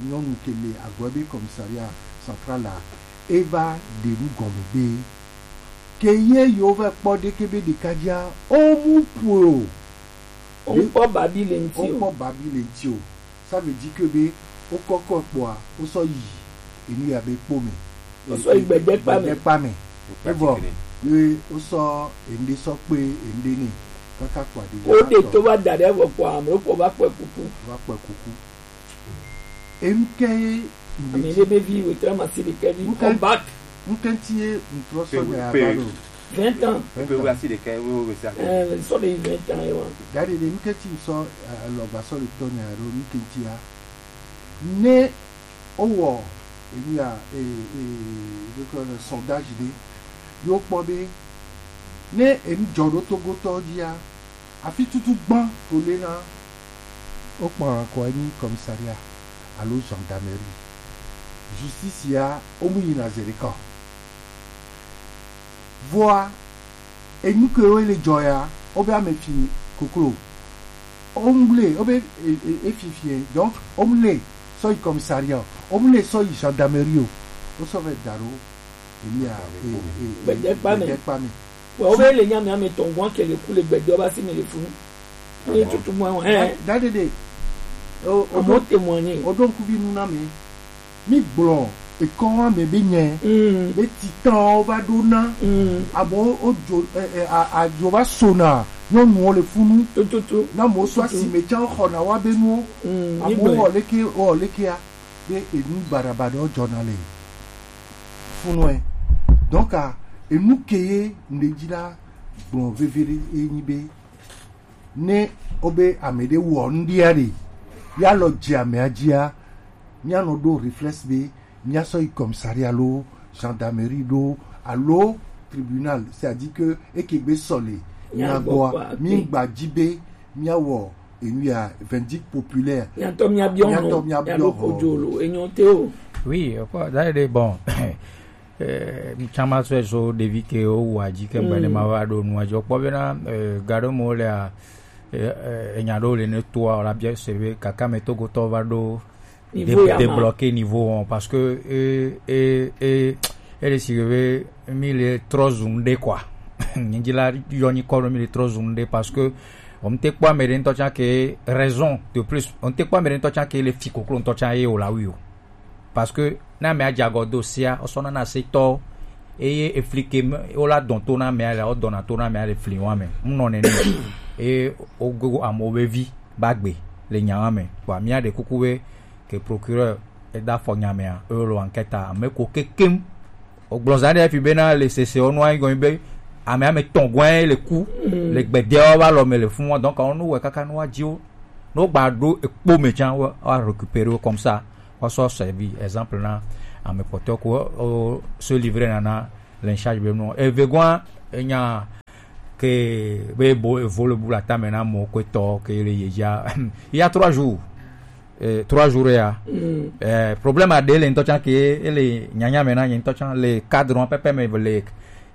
nyɔnu ke le agbo be commissariat central la, e va ɖe nu gɔme be ke ye yo va kpɔ ɖe ke be ɖeka dzia, o mu ƒoe o. O ŋkpɔ babi le ŋti o. O ŋkpɔ babi le ŋti o. Ça veut dire que be o kɔkɔ kpɔa, o sɔ yi enu ya be kpo me. O sɔ yi gbedekpa me. Gbedekpa me. Evɔ ye o sɔ ende sɔ kpe ende ne kaka kpɔa de. O de to va da ɖe evɔ kpɔa, ame o kpɔ va kpɔe kuku. Va kpɔe kuku. Enu ke ye ame ɖe be vi wetɔ ma si ɖeke vi. Ŋke- Comeback. Ŋkɛnti ye ŋtrɔ sɔ nya ya va ɖo. Vingt ans. Pe wo asi ɖeka wo wo sa. Eh, sɔ de vingt ans ye wa. Dade de ŋkɛnti sɔ, eh, lɔgba sɔ le tɔ nya ɖo ŋkɛnti ya. Ne o wɔ enu ya, eh, eh, de ko le sondage de. Yo kpɔ be ne enu dzɔ ɖo Togo tɔ dzi ya, afi tutu gbã ko le na o kpɔ ko anyi commissariat alo gendarmerie. Justice ya o mu yina zeri kɔ. Vɔa, enu ke wo le dzɔ ya, o be ame fi koklo. O mu le, o be e, e, e fi fi, donc, o mu le sɔ yi commissariat, o mu le sɔ yi gendarmerie o. O sɔ ve da ɖo emi a, e, e, e, gbedekpa me. Gbedekpa me. Wa o be le nya mi ame tɔn gwan ke le ku le gbede o ba si mi le funu. Ni tutu mo, eh. Da, da, de, de. O, o, amo do, témoigner. O do nkuvi nu na mi. Mi gblɔ ekɔ wa me be nye. Mm. Be titan o va ɖo na. Mm. Abo o jo, eh, eh, a, a jo va sona. Nyɔnuwo le funu. Tututu. Na mo so asi me tsa xɔ na wa be nuwo. Mm. Amo wɔ leke, wɔ leke a. Be enu barabara o jɔ na le. Funu ɛ. Donc, a, enu ke ye ŋɖe dzi la gblɔ veve ɖe ye nyi be ne o be ame ɖe wɔ ŋɖia ɖe, ya lɔ dze amea dzia, mía nɔ ɖo réflexe be mía sɔ yi commissariat alo gendarmerie ɖo alo tribunal, c'est-à-dire que eke gbe sɔ le mía gbɔa, mí gba dzi be mía wɔ enu ya verdict populaire. Mía tɔ mía biɔ nɔ, mía ɖo kodzo lo, enyo te o. Oui, kɔ, da ɖe bon. Eh, tsama sɔe so ɖevi ke wo wa dzi ke gbe ne ma va ɖo nua dzi. Kpɔ bena, eh, ga ɖewo me wo lea, eh, eh, enya ɖewo le ne toa, la bia se be kaka me Togotɔ va ɖo débloquer niveau wɔn, parce que, eh, eh, eh, ele si be mi le trɔ zu ŋɖe quoi. Nye dzi la yɔ nyikɔ ɖo mi le trɔ zu ŋɖe parce que on te kpɔ ame ɖe ŋutɔ tsã ke raison de plus, on te kpɔ ame ɖe ŋutɔ tsã ke le fi koklo ŋutɔ tsã ye o la wi o. Parce que na amea dze agɔ do sia, wosɔ nana se tɔ, eye efli ke me, wola dɔn to na amea le, wodɔna to na amea le fli wa me. Ŋnɔ nene. Eye wogo amewo be vi ba gbe le nya wa me. Kpɔ amea ɖe kuku be ke procureur eda fɔ nya mea, eye wole enquête a, ame ko kekem Gblɔza ɖe fi bena le sese wo nua gɔn be ame ame tɔn gɔn le ku le gbede wo va lɔ me le fun wa, donc on nous kaka nua dzi wo. No gba ɖo ekpo me tsan wa récupérer comme ça. Wa sɔ servi exemple na ame kpɔtɔ ko o se livrer nana le charge be no. Eve gɔn enya ke be bo evo le bula tame na mo ko tɔ ke le ye ja. Il y a trois jours. Eh, trois jours ya. Eh, problème a de le ntɔ tsan ke ele nyanya me na nye ntɔ tsan le cadre wa pepe me le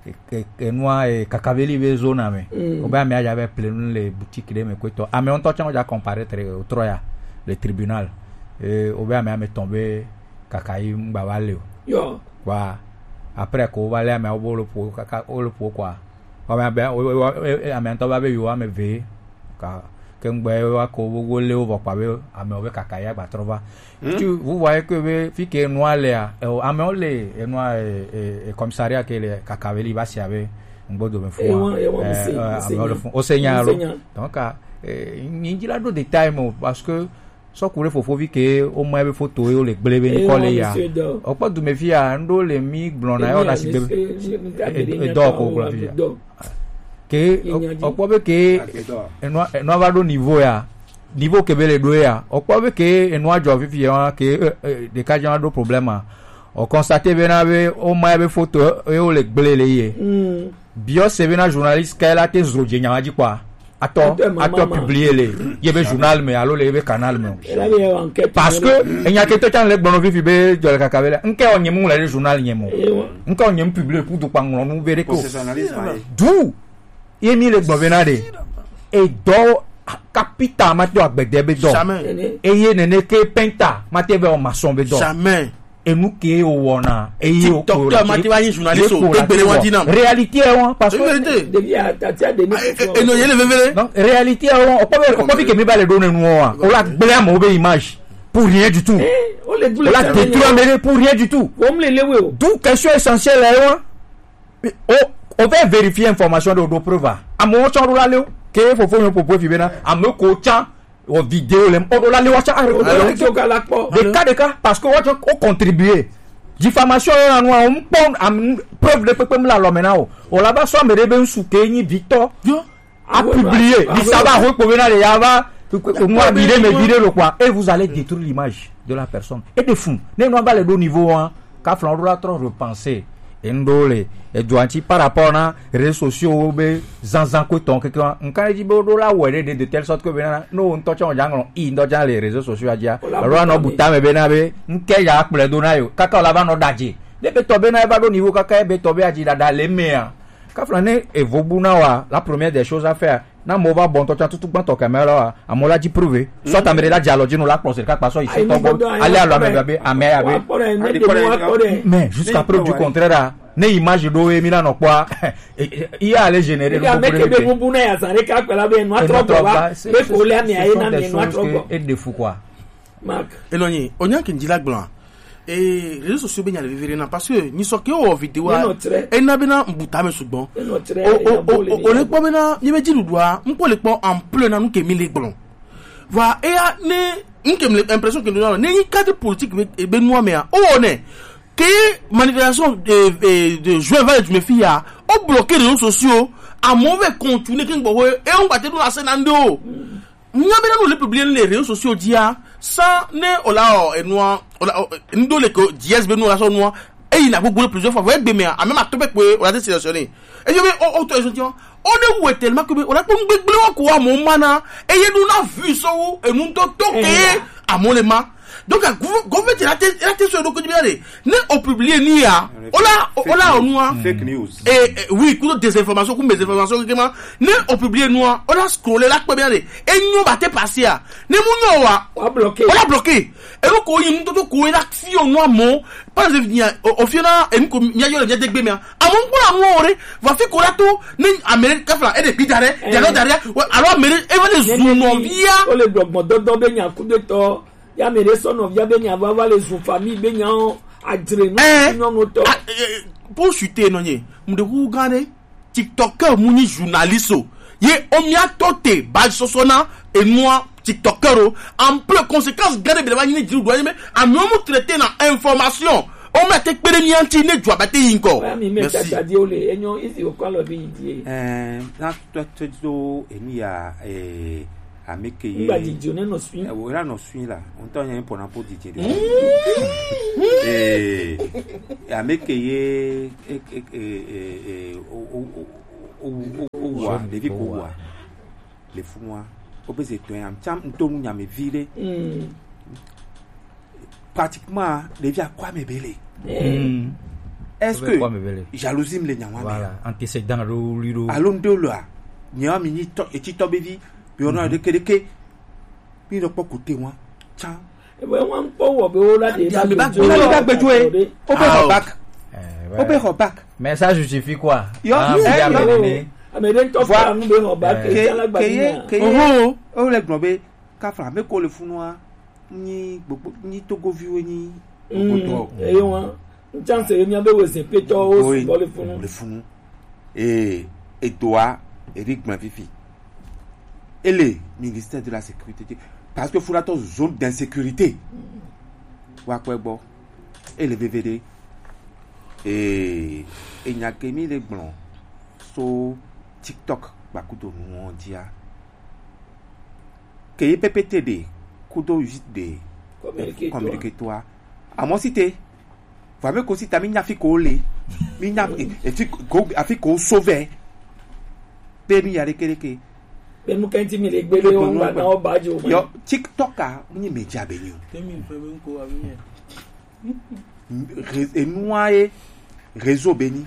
ke- ke- enua eh, kakaveli be zona me. Obe ame aja be plenu le boutique de me ko tɔ ame ntɔ tsan ja comparaître o trois ya le tribunal. Eh, obe ame ame tɔn be kakayi ngba va le o. Yo. Wa après ko va le ame wo bo le po kaka wo le po quoi. Ame abe ame ŋutɔ va be yewo ame eve ka ke ŋgbɛ wa ko wo le wo vɔ kpa be amewo be kaka ya gba trɔ va. Tu vous voyez que be fi ke nua lea eo amewo le enua e commissariat ke le kaka be li va sia be ŋgbo dome fo amewo le fun o se nya lo. Donc nyi dzi la ɖo détail mo parce que sɔku ɖe fofovi ke woma ebe foto ye wole gblẽ be ŋkɔ le ya. Ɔkpɔ dume fi ya ŋɖo le mi gblɔna ya wɔna si gbe edɔ ko gblɔ fi ya. Ke ɔkpɔ be ke enua va ɖo niveau ya, niveau ke be le ɖo ya ɔkpɔ be ke enua dzɔ fifi ya ke ɖeka dzɔ ɖo problème a. Ɔkɔnstate be na be woma ebe foto ye wole gblẽ le ye. Biɔ se bena journaliste ka la te zro dze nyawa dzi kpɔa atɔ atɔ publier le yebe journal me alo le yebe canal me. Parce que enya ke to tsan le gbɔnɔ fifi be dzɔ le kaka be la nke o nyemu le journal nyemu nke o nyemu publier pour du kpanglo nu be de ko du ye mi le gbɔ be na de e dɔ kapita ma to agbede be dɔ eye nene ke penta ma te be o maçon be dɔ. Enu ke o wɔna eye o ko TikTok ma ti wa yin journaliste o egbele wa di na. Réalité ɛ wɔn parce que eno ye le vevele. Donc réalité ɛ wɔn ɔkpɔ bi ɔkpɔ bi kemi ba le do nenu wɔn wa o la gblẽ amewo be image pour rien du tout. O la détruire ame pour rien du tout. D'où question essentielle ɛ wɔn. O o fɛ vérifier information de o do preuve a amewo tsɔ do la le o ke fofo yɔ popo fi bena ame ko tsã wɔ vidéo lɛ o do la le wa tsã arrêté. Ɖeka ɖeka parce que wa tsɔ o contribuer diffamation yɔ na nu a o kpɔ am preuve de kpekpe mu le alɔ me na o o la va sɔ ame ɖe be ŋsu ke nyi vitɔ a publier di sa va ho kpo bena de ya va nu a bi de me vi de lo kpɔa et vous allez détruire l'image de la personne et de fou ne nu a va le do niveau wa. Kafla wo ɖo la trɔ repenser enu ɖewo le edua ŋuti par rapport na réseaux sociaux wo be zanzan ko etɔn keke wa ŋka edzi be wo ɖo la wɔe ɖe ɖe de telle sorte que bena ne wo ŋutɔ tsɛ wo dza ŋlɔ i ŋdɔ dza le réseaux sociaux dzia alo anɔ bu tame bena be ŋke ya kplɔe do na yo kaka wo la va nɔ ɖadze ne be tɔ bena eva ɖo niveau kaka ebe tɔ be adzi ɖaɖa le mea kafla ne evo bu na wa la première des choses à faire. Na mo va bɔ ŋutɔ tsã tutu gbãtɔ kɛmɛ lɔ wa amewo la dzi prouve soit ame ɖe la dze alɔ dzi nu la kplɔ se ɖeka kpa sɔ yi se tɔ gbɔ ale alɔ ame be ame ya be mais jusqu'à preuve du contraire a ne image ɖo ye mi la nɔ kpɔa iya ale généré nu gbogbo ɖe mi be enua trɔ gbɔ va be ko le ame aye na mi enua trɔ gbɔ. Eɖe fu quoi. Enɔ nyi onya ke ŋdzi la gblɔa ee réseaux sociaux be nya le vevie ɖe na parce que nyisɔ ke wɔ vidéo a ena bena ŋbu tame sugbɔ o o o o le kpɔ bena mi be dziɖuɖua ŋkpɔ le kpɔ ampleur na nu ke mi le gblɔ vɔa eya ne nu ke mi le impression ke mi le ne nyi cadre politique be be nua mea o wɔ nɛ ke manifestation de de de juin va le dume fi ya o bloquer réseaux sociaux amewo vɛ continuer ke ŋgbɔ ho e ŋgba te ɖo na se na ŋɖe o. Nya bena nu le publier le réseaux sociaux dzia sans ne o la o enua o la o ŋdo le ko diez be nu la sɔ nua eyi na gbogbo le plusieurs fois vɔ egbe mea ame ma tɔ pe kpe o la te sélectionner eyo be o o tɔ ezo tiɔ o ne wɛ tellement que be o la kpɔ ŋgbegble wa ko wa mo ma na eye nu na vu sɔ wo enu ŋutɔ tɔ ke amo le ma donc gɔvɛti la te la te sɔ eɖo ko dzi be ya de ne o publier nu ya o la o la o nua fake news eh, eh, oui kudo désinformation ku mésinformation kekema ne o publier nua o la scroller la kpɛ bia de enyo ba te passer a ne mu nyo wa Wa bloqué. O la bloqué enu ko yi nutoto ko la fi o nua mo parce que nya o fi na enu ko nya yo le nya degbe mi a amo n gbɔ amu o re va fi ko la to ne amere kafla e de bi dare ya no dare alors amere e va le zu no via. O le gbɔgbɔ dɔdɔ be nya ku de tɔ ya mere sɔ nɔvia be nya va va le zu famille be nya o adzre nu nyɔnu tɔ. Pour chuter nɔ nye mu de wu gan de. TikToker mu nyi journaliste o ye o mia tɔ te ba sɔsɔ na enua TikToker o en plus conséquence gã de bi le va nyi ne dziɖuɖua ye me amewo mu traité na information. O ma te kpe ɖe mía ŋuti ne dua ba te yi ŋgɔ. Oya mi me Merci. Tata di o le enyo izi o kɔ alɔ bi yi die. Eh, na to to do emi ya, eh, ameke ye. Ngba di jo ne no sui. Eh, o la no sui la. O ntɔ nye pona po di je de. Eh, ameke ye, eh, eh, eh, eh, eh, o, o, o, o, o, o, wa, Jeune ɖevi ko ko wa. Wa. Le funua. O be ze to ya, mtsam nto mu nyame vi ɖe. Mm. Pratiquement, ɖevi akɔ ame be le. Mm. Est-ce Ebe que kɔ ame be le. Jalousie me le nyawa me? Voilà, antécédent ɖo wli ɖo. Alo ŋɖe lo a? Nyawa mi nyi tɔ, etsi tɔ be vi, bi ona Mhm. ɖeke ɖeke. Mi ɖo kpɔ kote wa. Tsa. Ebe wa ŋkpɔ wɔ be wo la de Ame ba gbe. Wo la de ba gbe jo e. O be Ah, xɔ oh. Bac. Eh, O be ouais. Xɔ bac. Mais ça justifie quoi? Yo, Ah, eh, bien, yo. Amenene. Ame ɖe ŋutɔ Voilà. Fla nu be xɔ bac. Eh. Ke, Ke, ke ye, ke ye. Oho. O le gblɔ be, kafla, me ko le funua. Nyi gbogbo, nyi Togoviwo nyi. Mm, gbogbo tɔ. Eye wa. N chance ye mía be wezin petɔwo Oye, sugbɔ le funu. Le funu. Ee, edoa, eri gblẽ fifi. Ele ministère de la sécurité. Parce que funa tɔ zone d'insécurité. Wa kpɛ gbɔ. Ele veve ɖe. Ee, enya ke mi le gblɔ. So TikTok gbakudo nuwo dia. Ke ye P P T ɖe kudo huit ɖe Communiqué toi. Communiqué toi. Amɔ si te. Vɔ ame ko si ta mi nya fi ko le. Mi nya e, e fi ko afi ko sauver. Pe mi ya leke leke. Be nu kenti mi le gbele o ngba na o ba jo ma. Yo TikTok a, mi ni media be ni o. Temi fɛ be nko abi yɛ. Ré- enua ye réseau be nyi,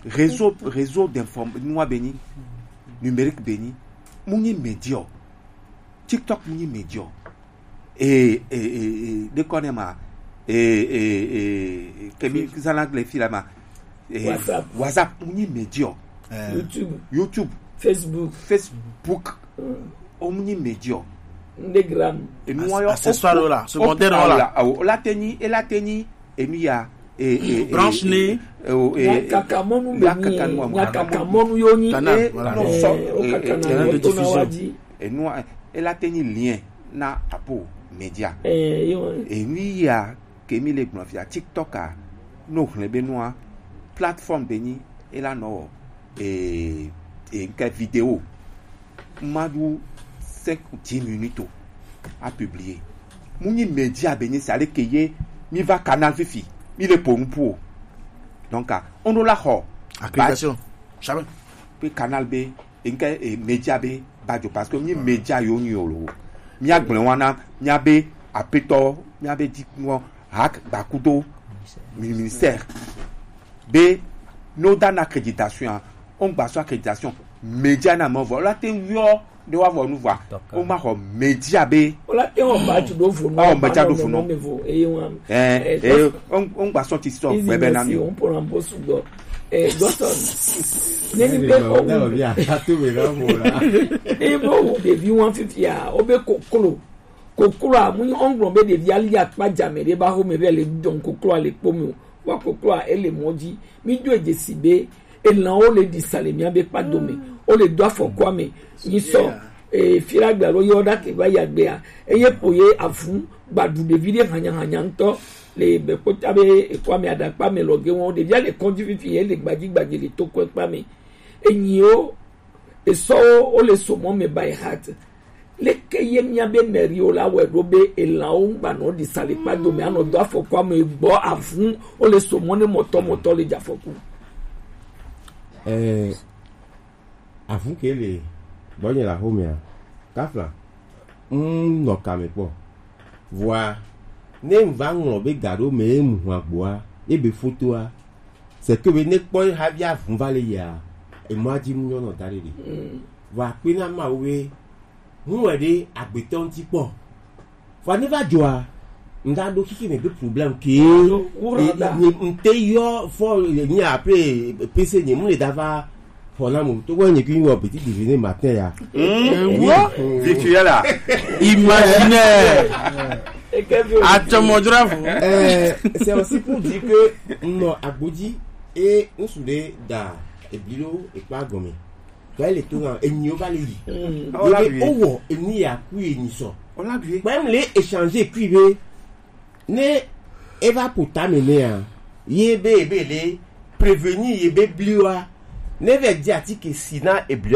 réseau réseau d'inform nua be nyi, numérique be nyi. Mu nyi média. TikTok mu nyi média. E e e e de kɔ ne ma. E e e kemi zana le fi la ma. E, WhatsApp. WhatsApp mu nyi média. Eh. YouTube. YouTube. Facebook. Facebook. Mm. O mu nyi média. Ndegram. Enu wa yɔ Accessoire o- la, o- secondaire o- la. Awo, o la te nyi, e la te nyi, enu ya, e, e, e, Branche e, ne. E, o, e, Nyakaka mɔnu ya be nyi, kaka nu wa mo. Nyakaka mɔnu yo nyi. Canal, e, voilà. Non, Eh, so, o e, kaka e, na canal de o to na diffusion. Wa di. Enu wa, e la te nyi lien na apo média. Eh, yo. Enu ya ke mi le gblɔ fia TikTok a, no hlẽ be nua, plateforme be nyi, e la nɔ e e nke vidéo. Ma ɖu cinq ou dix minutes o, a publier. Mu nyi média be nyi sa le ke ye mi va canal fifi, mi le po nu pu o. Donc a, on la xɔ. Accréditation. Jamais. Pe canal be nke e média be badzo parce que mi média yo nyi o lo. Mi agblẽ wana mi abe apetɔ mi abe di ŋɔ hak gbakudo mi- ministère be no da na accréditation a, on gba so accréditation média na me vɔ la te yɔ de wa vɔ nu vɔ. D'accord. O ma xɔ média be O la te wɔn ba tu do vo nu. Ɔ, mɛtsa do vo nu. Me vo eye wɔn. Eh, eh, on on gba sɔti sɔ gbɛbɛ na mi. On pour un beau sudo. Eh, Godson. Ne ni be ko. Dalo bi a tu be na mo la. Ne ni be wo ɖevi wɔn fifia, o be koklo. Koklo a mu ni on gblɔ be ɖevi ali akpa jame ɖe ba ho me be le don koklo a le kpo mi o. Wa koklo a ele mɔ dzi. Mi do edze si be elanwo le ɖi sa le mía be kpado me. Wo le do afɔkua me. Nyi sɔ, eh, fila gbe alo yɔ ɖa ke va yi agbea. Eye po ye avu gbaɖu ɖevi ɖe hanyahanya ŋutɔ le be kpota be ekua me aɖakpa me lɔ ge wɔn. Ɖevia le kɔdzi fifi ye le gbadzi gbadzi le to kɔe kpa me. Enyiwo, esɔwo, wo le so mɔ me by heart. Leke ye mía be mɛriwo la wɔe ɖo be elanwo ŋgbanɔ ɖi sa le kpa dome anɔ do afɔkua me gbɔ avu wo le so mɔ ne mɔtɔ mɔtɔ le dze afɔku? Eh, avu ke le gbɔnye le axomea, kafla, mm, nɔ kame kpɔ. Vɔa, ne ŋva ŋlɔ be ga ɖo me ye mu hu agboa, ye be fotoa, c'est que be ne kpɔ ye havi avu va le yia, emɔa dzi mu nyɔnɔ da ɖe ɖe. Mm. Vɔa kpe na Mawu be Ŋu wɛ ɖe agbetɔ ŋuti kpɔ. Vɔ ne va dzɔa, ŋda ɖo xixi me be problème ke. Alo, wura da. Nye ŋte yɔ fɔ nye après P C nye mu le da va xɔ na mo. To wɛ nye ki wɔ petit déjeuner matin ya. Mm. Ewo. Virtuel a. Imaginaire. Eke vi o. Atɔmɔdzrafo. Euh, c'est aussi pour dire que nɔ agbodzi e ŋsu ɖe da ebli ɖo ekpa gɔme. Tɔ ele to na enyiwo va le yi. Mm. Ye be wowɔ enu ya ku ye nyi sɔ. Kpɛm le échanger kui be ne E va ƒo tame nɛa, ye be ebe le prévenir ye be bliwa ne vɛ di atike si na ebli